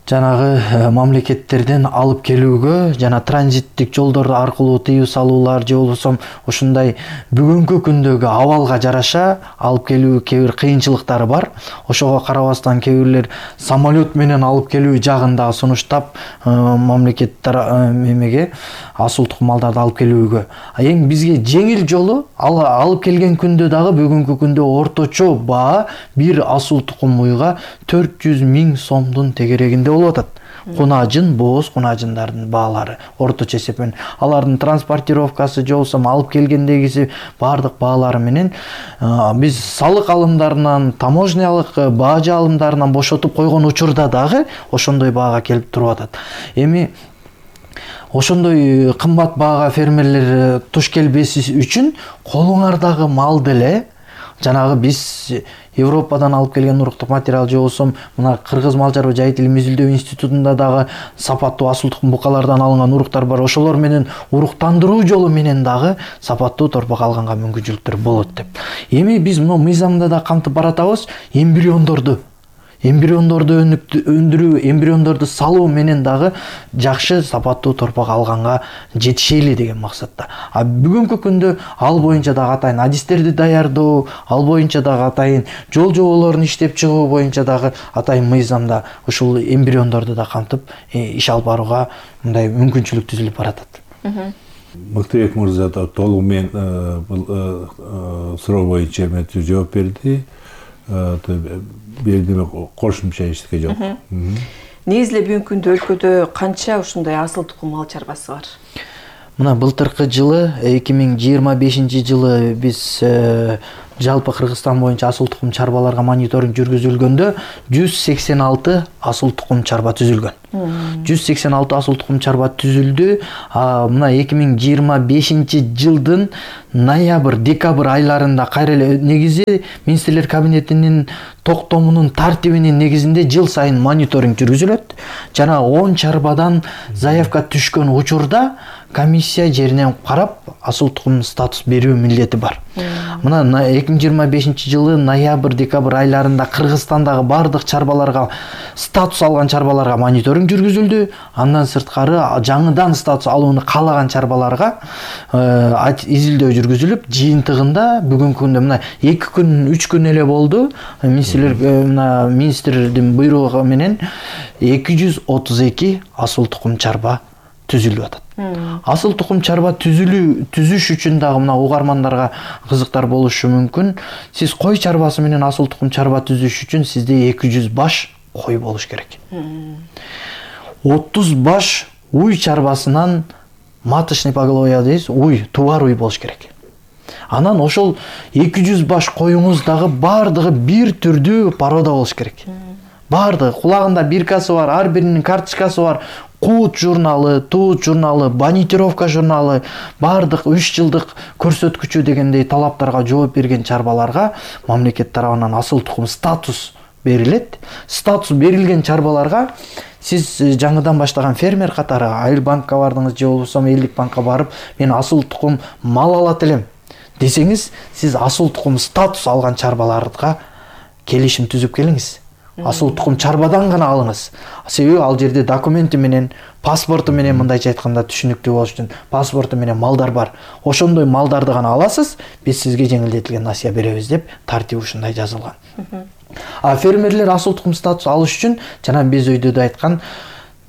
жанагы мамлекеттерден алып келүүгө жана транзиттик жолдор аркылуу тыюу салуулар же болбосо ушундай бүгүнкү күндөгү абалга жараша алып келүү кээ бир кыйынчылыктары бар. Ошого карабастан кээ бирлер самолет менен алып келүү жагында сунуштап мамлекеттер мемеге асыл тукум малдарды алып келүүгө. Эң бизге жеңил жолу алып келген күндө дагы бүгүнкү күндө орточо баа бир асыл тукум уйга төрт жүз миң сомдун тегерегинде болуп атат. Кунажын, бооз кунажындардын баалары орточо эсепен. Алардын транспортировкасы же болсо алып келгендегиси бардык баалары менен биз салык алымдарынан, таможнялык баа алымдарынан бошотуп койгон учурда дагы ошондой баага келип туруп атат. Эми ошондой кымбат баага фермерлер туш келбеси үчүн колуңардагы мал деле жанагы биз Европадан алып келген уруктук материал же болсо мына Кыргыз мал чарба жайыт илим изилдөө институтунда дагы сапаттуу асыл тукум букалардан алынган уруктар бар. Ошолор менен уруктандыруу жолу менен дагы сапаттуу торпок алганга мүмкүнчүлүктөр болот деп. Эми биз мына мыйзамда да кантип баратабыз? Эмбриондорду эмбриондорду өндүрүү, эмбриондорду салуу менен дагы жакшы сапаттуу торпок алганга жетишели деген максатта. А бүгүнкү күндө ал боюнча дагы атайын адистерди даярдоо, ал боюнча дагы атайын жол жоболорун иштеп чыгуу боюнча дагы атайын мыйзамда ушул эмбриондорду да кантип иш алып барууга мындай мүмкүнчүлүк түзүлүп баратат. Мыктыбек мырза толугу менен бул суроо боюнча жооп берди. бирдеме кошумча эчтеке жок. Негизи эле бүгүнкү күндө өлкөдө канча ушундай асыл тукум мал чарбасы бар? Мына былтыркы жылы эки миң жыйырма бешинчи жылы биз жалпы Кыргызстан боюнча асыл тукум чарбаларга мониторинг жүргүзүлгөндө жүз сексен алты асыл тукум чарба түзүлгөн. жүз сексен алты асыл тукум чарба түзүлдү. Мына эки миң жыйырма бешинчи жылдын ноябрь, декабрь айларында кайра эле негизи министрлер кабинетинин токтомунун тартибинин негизинде жыл сайын мониторинг жүргүзүлөт. Жана он чарбадан заявка түшкөн учурда комиссия жеринен карап асыл тукум статус берүү милдети бар. Мына эки миң жыйырма бешинчи жылы ноябрь, декабрь айларында Кыргызстандагы бардык чарбаларга, статус алган чарбаларга мониторинг жүргүзүлдү. Андан сырткары жаңыдан статус алууну каалаган чарбаларга изилдөө жүргүзүлүп, жыйынтыгында бүгүнкү күндө мына эки күн, үч күн эле болду. Министрлер мына министрдин буйругу менен эки жүз отуз эки асыл тукум чарба түзүлүп атат. Асыл тукум чарба түзүлүү түзүш үчүн дагы мына угармандарга кызыктар болушу мүмкүн. Сиз кой чарбасы менен асыл тукум чарба түзүш үчүн сизде эки жүз баш кой болуш керек. отуз баш уй чарбасынан маточный поголовье дейбиз, уй, тубар уй болуш керек. Анан ошол эки жүз баш коюңуз дагы бардыгы бир түрдүү порода болуш керек. Бардыгы кулагында биркасы бар, ар биринин карточкасы бар. Кут журналы, Тут журналы, Банитировка журналы, бардык үч жылдык көрсөткүчү дегендей талаптарга жооп берген чарбаларга мамлекет тарабынан асыл тукум статус берилет. Статус берилген чарбаларга сиз жаңыдан баштаган фермер катары Айыл банкка бардыңыз же болбосо Элдик банкка барып, мен асыл тукум мал алат элем десеңиз, сиз асыл тукум статус алган чарбаларга келишим түзүп келиңиз. Асыл тукум чарбадан гана алыңыз. Себеби ал жерде документи менен, паспорту менен, мындайча айтканда түшүнүктүү болуш үчүн паспорту менен малдар бар. Ошондой малдарды гана аласыз, биз сизге жеңилдетилген насыя беребиз деп тартип ушундай жазылган. А фермерлер асыл тукум статус алыш үчүн жана биз өйдө да айткан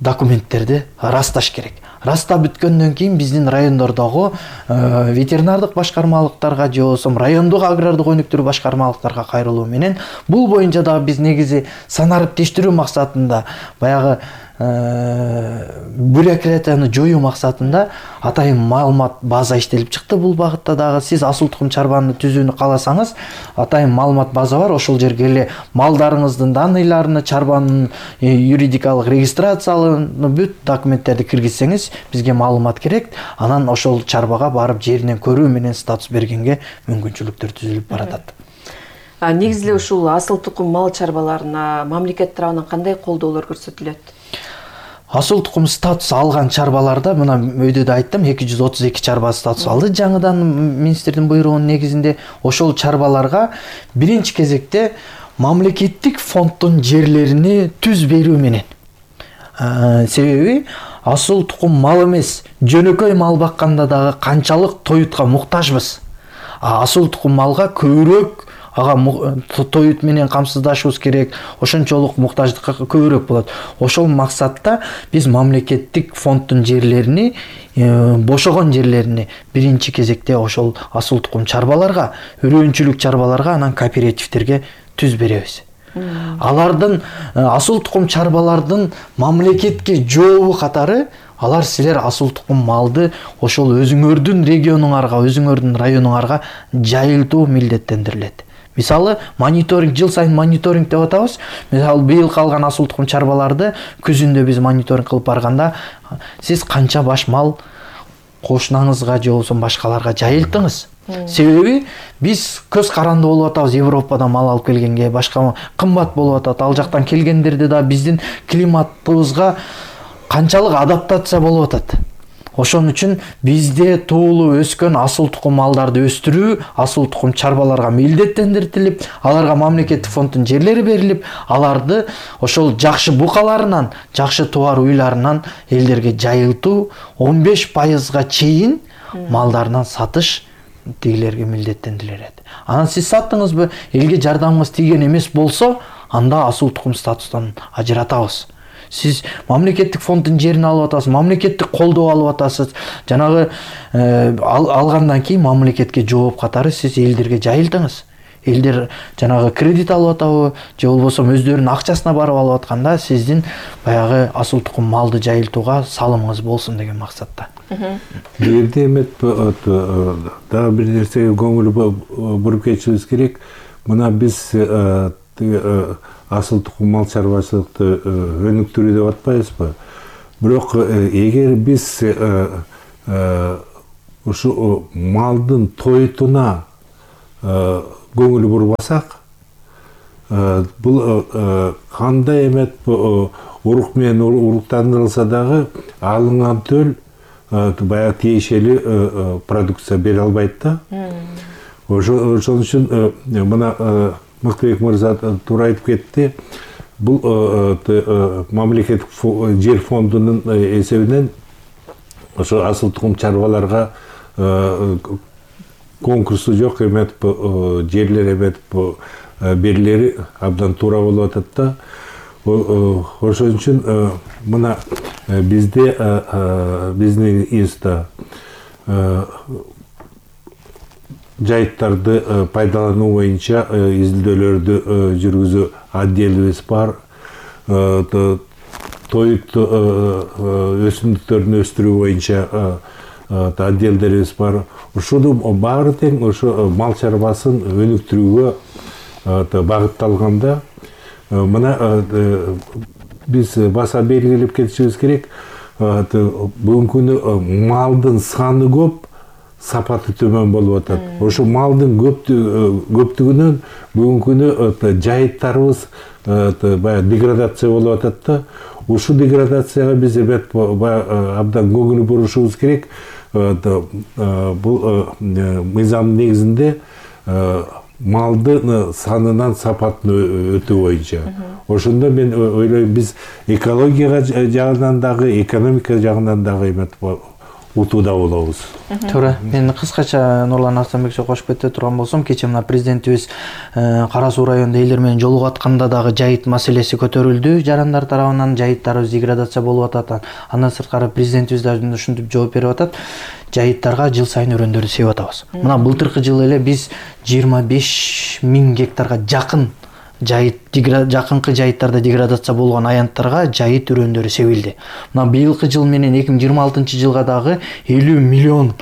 документтерди расташ керек. Растап бүткөндөн кийин биздин райондордогу ветеринардык башкармалыктарга же болбосо райондук агрардык өнүктүрүү башкармалыктарга кайрылуу менен бул боюнча дагы биз негизи санариптештирүү максатында, баягы бюрократияны жоюу максатында атайын маалымат база иштелип чыкты. Бул багытта дагы сиз асыл тукум чарбаны түзүүнү кааласаңыз, атайын маалымат база бар. Ошол жерге эле малдарыңыздын данныйларын, чарбанын юридикалык регистрацияларын, бүт документтерди киргизсеңиз, бизге маалымат керек. Анан ошол чарбага барып жеринен көрүү менен статус бергенге мүмкүнчүлүктөр түзүлүп баратат. А негизи эле ушул асыл тукум мал чарбаларына мамлекет тарабынан кандай колдоолор көрсөтүлөт? Асыл тукум статус алган чарбаларда, мына өйдө да айттым, эки жүз отуз эки чарба статус алды жаңыдан министрдин буйругунун негизинде. Ошол чарбаларга биринчи кезекте мамлекеттик фонддун жерлерини түз берүү менен. Себеби асыл тукум мал эмес, жөнөкөй мал бакканда дагы канчалык тоютка муктажбыз. Асыл тукум малга көбүрөөк ага тоют менен камсыздашыбыз керек, ошончолук муктаждыкка көбүрөөк болот. Ошол максатта биз мамлекеттик фонддун жерлерини, бошогон жерлерини биринчи кезекте ошол асыл тукум чарбаларга, өрөөнчүлүк чарбаларга, анан кооперативтерге түз беребиз. Алардын асыл тукум чарбалардын мамлекетке жообу катары, алар силер асыл тукум малды ошол өзүңөрдүн регионуңарга, өзүңөрдүн районуңарга жайылтуу милдеттендирилет. Мисалы, мониторинг, жыл сайын мониторинг деп атабыз. Мисалы, быйыл калган асыл тукум чарбаларды күзүндө биз мониторинг кылып барганда, сиз канча баш мал кошунаңызга же болбосо башкаларга жайылттыңыз? Себеби биз көз каранды болуп атабыз, Европадан мал алып келгенге, башка кымбат болуп атат. Ал жактан келгендерде да биздин климатыбызга канчалык адаптация болуп атат. Ошон үчүн бизде туулуп өскөн асыл тукум малдарды өстүрүү асыл тукум чарбаларга милдеттендирилип, аларга мамлекеттик фонддун жерлери берилип, аларды ошол жакшы букаларынан, жакшы тубар уйларынан элдерге жайылтуу, он беш пайызга чейин малдарынан сатыш тигилерге милдеттендирилет. Анан сиз саттыңызбы, элге жардамыңыз тийген эмес болсо, анда асыл тукум статустан ажыратабыз. Сиз мамлекеттик фонддун жерин алып атасыз, мамлекеттик колдоо алып атасыз. Жанагы алгандан кийин мамлекетке жооп катары сиз элдерге жайылтыңыз. элдер жанагы кредит алып атабы же болбосо өздөрүнүн акчасына барып алып атканда сиздин баягы асыл тукум малды жайылтууга салымыңыз болсун деген максатта. Бул жерде эмет дагы бир нерсеге көңүл буруп кетишибиз керек. Мына биз асыл тукум мал чарбачылыкты өнүктүрүү деп атпайбызбы? Бирок эгер биз ушу малдын тойтуна көңүл бурбасак, бул кандай эмет урук менен уруктандырылса дагы алынган төл баягы тиешелүү продукция бере албайт да. Ошон үчүн мына Мыктыбек мырза туура айтып кетти. Бул мамлекеттик жер фондунун эсебинен ошо асыл тукум чарбаларга конкурсу жок эмет жерлер эмет берилери абдан туура болуп атат да. Ошон үчүн мына бизде биздин институтта жайыттарды пайдалануу боюнча изилдөөлөрдү жүргүзүү отделибиз бар. Тоют өсүмдүктөрүн өстүрүү боюнча отделдерибиз бар. Ушунун баары тең ошо мал чарбасын өнүктүрүүгө багытталганда, мына биз баса белгилеп кетишибиз керек. Бүгүнкү күнү малдын саны көп, сапаты төмөн болуп атат. Ошо малдын көптүгүнөн бүгүнкү күнү жайыттарыбыз баягы деградация болуп атат да. Ушу деградацияга биз эбет абдан көңүл бурушубуз керек. Бул мыйзамдын негизинде малдын санынан сапатын өтүү боюнча. Ошондо мен ойлойм, биз экология жагынан дагы, экономика жагынан дагы эмет утууда болобуз. Туура. Мен кыскача Нурлан Арстанбековичке кошуп кете турган болсом, кечээ мына президентибиз Кара Суу районунда элдер менен жолугатканда дагы жайыт маселеси көтөрүлдү. Жарандар тарабынан жайыттарыбыз деградация болуп атат. Андан сырткары президентибиз дагы ушинтип жооп берип атат. Жайыттарга жыл сайын өрөөндөрдү себип атабыз. Мына былтыркы жылы эле биз жыйырма беш миң гектарга жакын жайыт жакынкы жайыттарда деградация болгон аянттарга жайыт өрөөндөрү себилди. Мына быйылкы жыл менен эки миң жыйырма алтынчы жылга дагы элүү миллион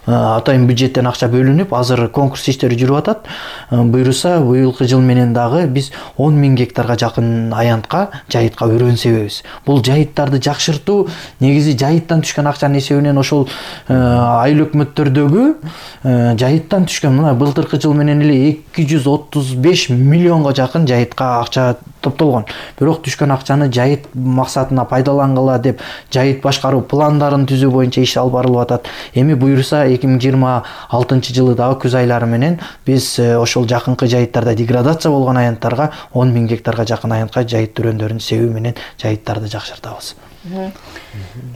атайын бюджеттен акча бөлүнүп, азыр конкурс иштери жүрүп атат. Буйруса быйылкы жыл менен дагы биз он миң гектарга жакын аянтка жайытка өрөөн себебиз. Бул жайыттарды жакшыртуу негизи жайыттан түшкөн акчанын эсебинен ошол айыл өкмөттөрдөгү жайыттан түшкөн, мына былтыркы жыл менен эле эки жүз отуз беш миллионго жакын жайытка акча топтолгон. Бирок түшкөн акчаны жайыт максатына пайдалангыла деп жайыт башкаруу пландарын түзүү боюнча иш алып барылып атат. Эми буйруса эки миң жыйырма алтынчы жылы дагы күз айлары менен биз ошол жакынкы жайыттарда деградация болгон аянттарга он миң гектарга жакын аянтка жайыт өрөөндөрүн себүү менен жайыттарды жакшыртабыз.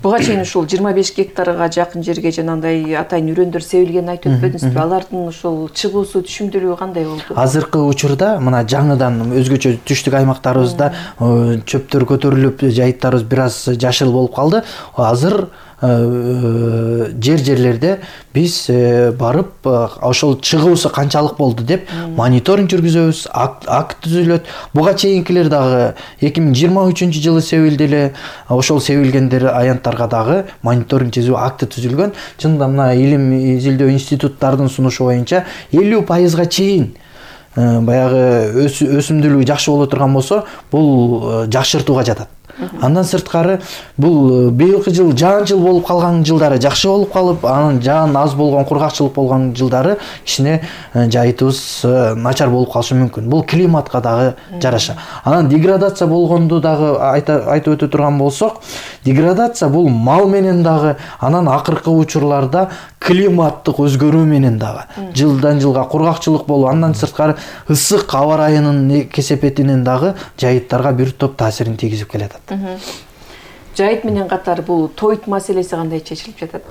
Буга чейин ушул жыйырма беш гектарга жакын жерге жанагындай атайын өрөөндөр себилгенин айтып өтпөдүңүзбү? Алардын ушул чыгуусу, түшүндүрүү кандай болду? Азыркы учурда мына жаңыдан өзгөчө түштүк аймактарыбызда чөптөр көтөрүлүп, жайыттарыбыз бир аз жашыл болуп калды. Азыр жер жерлерде биз барып ошол чыгуусу канчалык болду деп мониторинг жүргүзөбүз, акт түзүлөт. Буга чейинкилер дагы эки миң жыйырма үчүнчү жылы себилди эле. Ошол себилгендер аянттарга дагы мониторинг түзүү акты түзүлгөн. Чынында мына илим изилдөө институттардын сунушу боюнча элүү пайызга чейин баягы өсүмдүүлүгү жакшы боло турган болсо, бул жакшыртууга жатат. Андан сырткары бул быйылкы жыл жаан-жыл болуп калган жылдары жакшы болуп калып, анан жаан аз болгон, кургакчылык болгон жылдары кичине жайытыбыз начар болуп калышы мүмкүн. Бул климатка дагы жараша. Анан деградация болгонду дагы айтып өтө турган болсок, деградация бул мал менен дагы, анан акыркы учурларда климаттык өзгөрүү менен дагы жылдан жылга кургакчылык болуу, андан сырткары ысык аба ырайынын кесепетинен дагы жайыттарга бир топ таасирин тийгизип келет. Жайыт менен катар бул тоют маселеси кандай чечилип жатат?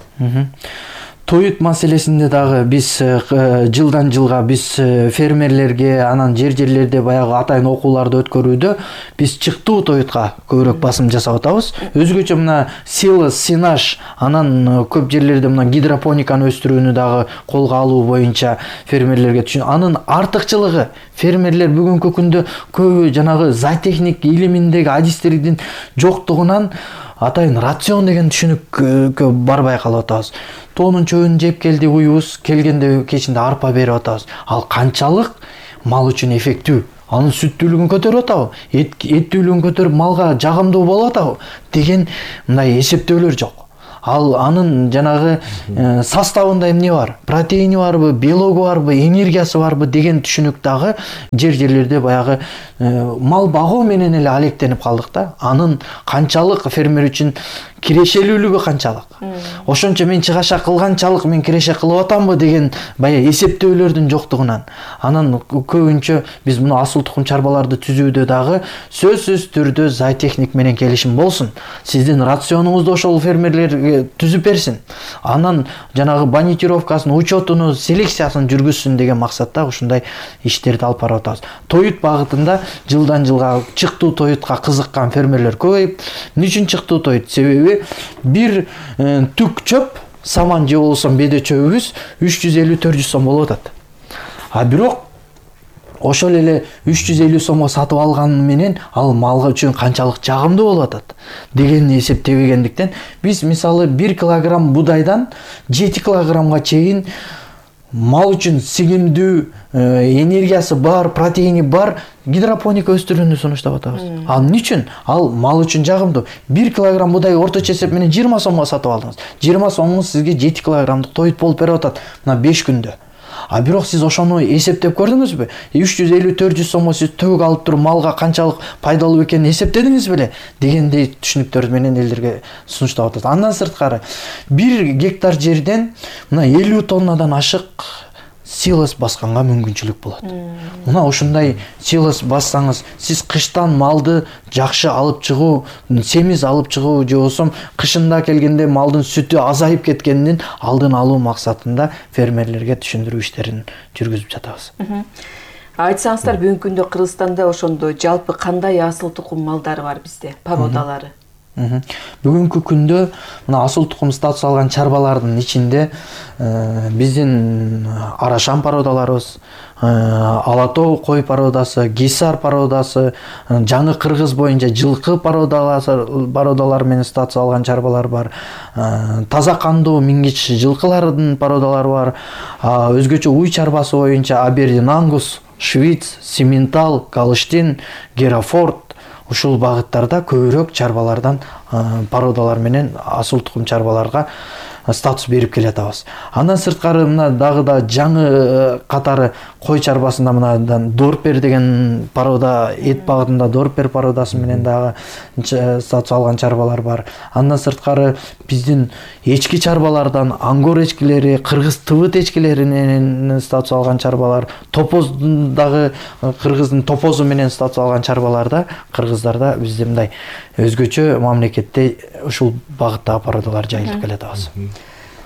тоют маселесинде дагы биз жылдан жылга биз фермерлерге анан жер жерлерде баягы атайын окууларды өткөрүүдө биз чыктуу тоютка көбүрөөк басым жасап атабыз. Өзгөчө мына силос, синаж, анан көп жерлерде мына гидропониканы өстүрүүнү дагы колго алуу боюнча фермерлерге түшүн. Анын артыкчылыгы фермерлер бүгүнкү күндө көбү жанагы зоотехник илиминдеги адистердин жоктугунан атайын рацион деген түшүнүккө барбай калып атабыз. Тоонун чөбүн жеп келди уюбуз, келгенде кечинде арпа берип атабыз. Ал канчалык мал үчүн эффектүү? Анын сүттүүлүгүн көтөрүп атабы? Эттүүлүгүн көтөрүп малга жагымдуу болуп атабы деген мындай эсептөөлөр жок. Ал анын жанагы э, составында эмне бар? Протеини барбы, белогу барбы, энергиясы барбы деген түшүнүк дагы жер жерлерде баягы э, мал багуу менен эле алектенип калдык да. Анын канчалык фермер үчүн кирешелүүлүгү канчалык? Ошончо мен чыгаша кылганчалык мен киреше кылып атамбы деген баягы эсептөөлөрдүн жоктугунан. Анан көбүнчө биз муну асыл тукум чарбаларды түзүүдө дагы сөзсүз түрдө зоотехник менен келишим болсун. Сиздин рационуңузду ошол фермерлерге түзүп берсин. Анан жанагы банитировкасын, учетуну, селекциясын жүргүзсүн деген максатта ушундай иштерди алып барып атабыз. Тоют багытында жылдан жылга чыктуу тоютка кызыккан фермерлер көбөйүп, эмне үчүн чыктуу тоют? Себеби бир э, түк чөп, саман же болбосо беде чөбүбүз үч жүз элүү төрт жүз сом болуп атат. А бирок ошол эле үч жүз элүү сомго сатып алганы менен ал малга үчүн канчалык жагымдуу болуп атат дегенди эсептебегендиктен биз мисалы бир килограмм будайдан жети килограммга чейин мал үчүн сигимдүү, энергиясы бар, протеини бар гидропоника өстүрүүнү сунуштап атабыз. Ал эмне үчүн? Ал мал үчүн жагымдуу. бир килограмм будай орточо эсеп менен жыйырма сомго сатып алдыңыз. жыйырма сомуңуз сизге жети килограммдык тоют болуп берип атат мына беш күндө. А бирок сиз ошону эсептеп көрдүңүзбү? үч жүз элүү төрт жүз сомго сиз төгүк алып туруп малга канчалык пайдалуу экенин эсептедиңиз беле? Дегендей түшүнүктөр менен элдерге сунуштап атат. Андан сырткары бир гектар жерден мына элүү тоннадан ашык силос басканга мүмкүнчүлүк болот. Мына ушундай силос бассаңыз, сиз кыштан малды жакшы алып чыгуу, семиз алып чыгуу же болбосо кышында келгенде малдын сүтү азайып кеткенин алдын алуу максатында фермерлерге түшүндүрүү иштерин жүргүзүп жатабыз. Айтсаңыздар, бүгүнкү күндө Кыргызстанда ошондо жалпы кандай асыл тукум малдары бар бизде, породалары? Бүгүнкү күндө мына асыл тукум статус алган чарбалардын ичинде биздин Арашан породаларыбыз, Алатоо кой породасы, Гисар породасы, жаңы Кыргыз боюнча жылкы породалар менен статус алган чарбалар бар. Таза кандуу мингич жылкылардын породалары бар. Өзгөчө уй чарбасы боюнча Абердин Ангус, Швиц, Симментал, Галштин, Герафорд ушул багыттарда көбүрөөк чарбалардан породалар менен асыл тукум чарбаларга статус берип келатабыз. Андан сырткары мына дагы да жаңы катары кой чарбасында мынадан Дорпер деген порода, эт багытында Дорпер породасы менен дагы статус алган чарбалар бар. Андан сырткары биздин эчки чарбалардан ангор эчкилери, кыргыз тыбыт эчкилери менен статус алган чарбалар, топоздагы кыргыздын топозу менен статус алган чарбаларда кыргыздарда бизде мындай өзгөчө мамлекетте ушул багыттагы породалар жайылып келатабыз.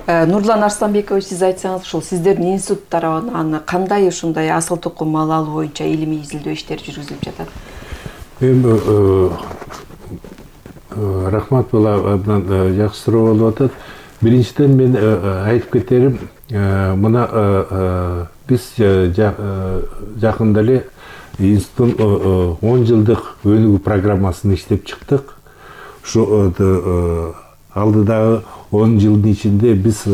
Нурлан Арсланбекович, сиз айтсаңыз, ушул сиздердин институт тарабынан кандай ушундай асыл тукум мал алуу боюнча илимий изилдөө иштери жүргүзүлүп жатат? Эми рахмат, бул абдан жакшы суроо болуп атат. Биринчиден мен айтып кетерим, мына биз жакында эле институттун он жылдык өнүгүү программасын иштеп чыктык. Ушу алдыдагы он жылдын ичинде биз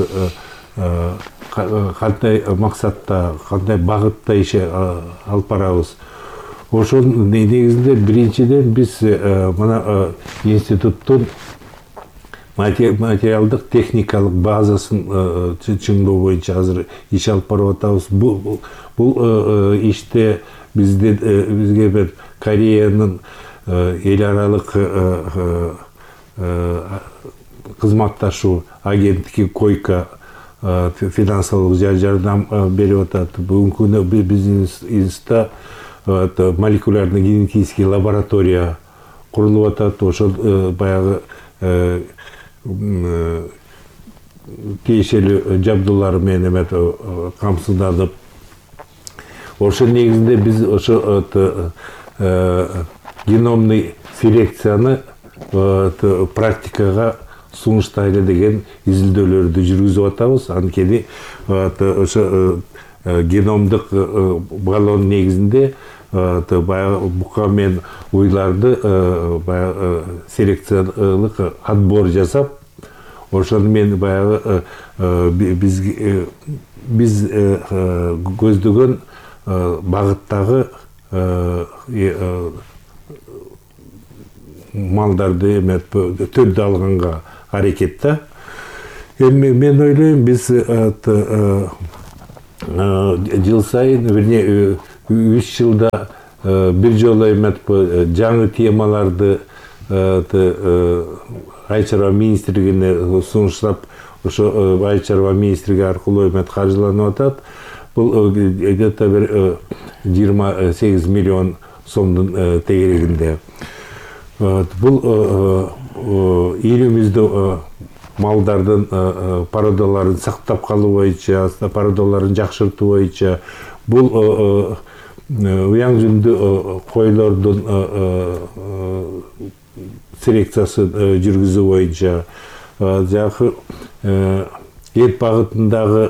кандай максатта, кандай багытта иш алып барабыз. Ошонун негизинде биринчиден биз мына институттун материалдык техникалык базасын чыңдоо боюнча азыр иш алып барып атабыз. Бул иште бизде бизге бир Кореянын эл аралык кызматташуу агенттиги Койка финансылык жардам берип атат. Бүгүнкү күндө биздин институтта молекулярный генетический лаборатория курулуп атат. Ошол баягы тиешелүү жабдуулары менен эме камсызданып, ошол негизинде биз ошо геномный селекцияны практикага сунуштайлы деген изилдөөлөрдү жүргүзүп атабыз. Анткени ошо геномдук баллон негизинде баягы бука менен уйларды баягы селекциялык отбор жасап, ошону менен баягы биз биз көздөгөн багыттагы малдарды эме түрдү алганга аракет да. Эми мен ойлойм, биз жыл сайын, верне үч жылда бир жолу эме жаңы темаларды Айыл чарба министрлигине сунуштап, ошо Айыл чарба министрлиги аркылуу эме каржыланып атат. Бул где-то бир жыйырма сегиз миллион сомдун тегерегинде. Бул элибизде малдардын породаларын сактап калуу боюнча, породаларын жакшыртуу боюнча, бул уяң жүндүү койлордун селекциясын жүргүзүү боюнча, жакы эт багытындагы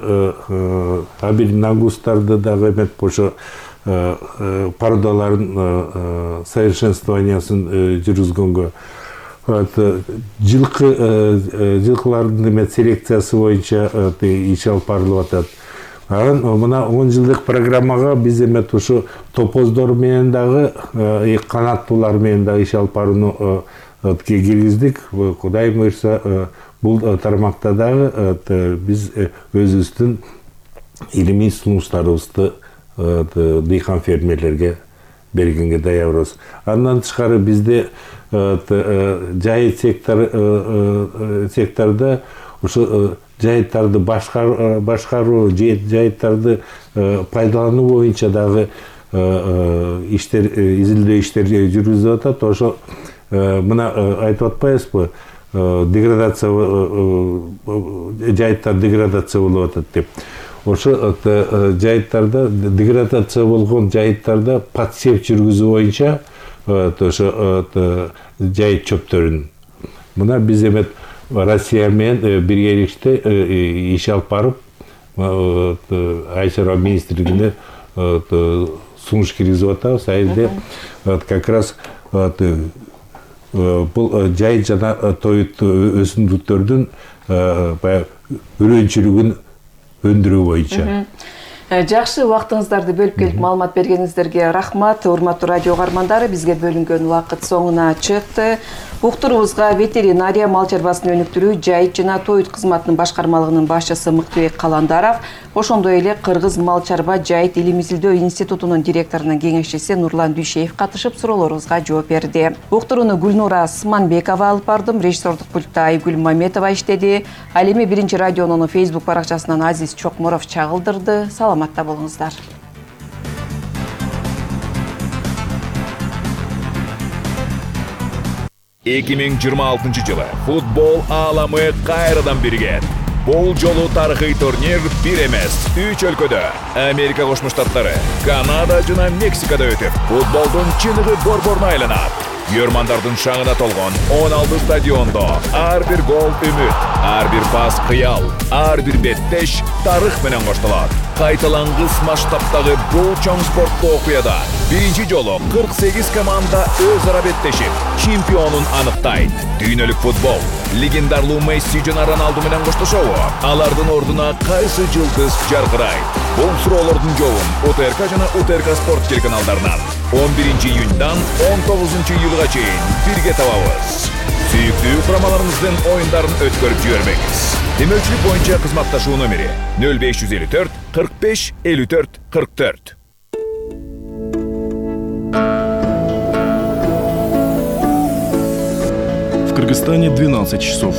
абелинагустарды дагы эметип ошо породаларын совершенствованиясын жүргүзгөнгө, жылкы жылкылардын эме селекциясы боюнча иш алып барылып атат. Анан мына он жылдык программага биз эметип ошо топоздор менен дагы, канаттуулар менен дагы иш алып барууну киргиздик. Кудай буйрса, бул тармакта дагы биз өзүбүздүн илимий сунуштарыбызды дыйкан фермерлерге бергенге даярбыз. Андан тышкары бизде жайыт секторда ошо жайыттарды башкаруу, жайыттарды пайдалануу боюнча дагы иштер, изилдөө иштери жүргүзүлүп атат. Ошо мына айтып атпайбызбы, деградация, жайыттар деградация болуп атат деп. Ошо жайыттарда, деградация болгон жайыттарда подсев жүргүзүү боюнча ошо жайыт чөптөрүн мына биз эме Россия менен биргеликте иш алып барып, Айыл чарба министрлигине сунуш киргизип атабыз. Айылда как раз бул жайыт жана тоют өсүмдүктөрдүн баягы үрөнчүлүгүн өндүрүү боюнча. Жакшы, убактыңыздарды бөлүп келип маалымат бергениңиздерге рахмат. Урматтуу радио угармандары, бизге бөлүнгөн убакыт соңуна чыкты. Уктуруубузга ветеринария, мал чарбасын өнүктүрүү, жайыт жана тоют кызматынын башкармалыгынын башчысы Мыктыбек Каландаров, ошондой эле Кыргыз мал чарба жайыт илим изилдөө институтунун директорунун кеңешчиси Нурлан Дүйшеев катышып суроолорубузга жооп берди. Уктурууну Гүлнура Сманбекова алып бардым, режиссердук пультта Айгүл Маметова иштеди. Ал эми Биринчи радионун Facebook баракчасынан Азиз Чокморов чагылдырды. Саламатта болуңуздар. эки миң жыйырма алтынчы жылы футбол ааламы кайрадан биригет. Бул жолу тарыхый турнир бир эмес, үч өлкөдө, Америка Кошмо Штаттары, Канада жана Мексикада өтүп, футболдун чыныгы борборуна айланат. Көрмандардын шаңына толгон он алты стадиондо ар бир гол үмүт, ар бир пас кыял, ар бир беттеш тарых менен коштолот. Кайталангыс масштабтагы бул чоң спорттуу окуяда биринчи жолу кырк сегиз команда өз ара беттешип, чемпионун аныктайт. Дүйнөлүк футбол легендарлуу Месси жана Роналду менен коштошобу? Алардын ордуна кайсы жылдыз жаркырайт? Бул суроолордун жообун УТРК жана УТРК спорт телеканалдарынан он биринчи июньдан он тогузунчу июлга чейин бирге табабыз. Сүйүктүү курамаларыңыздын оюндарын өткөрүп жибербеңиз. Демөүчүлүк боюнча кызматташуу номери нөл беш жүз элүү төрт кырк беш элүү төрт кырк төрт. В Кыргызстане двенадцать часов.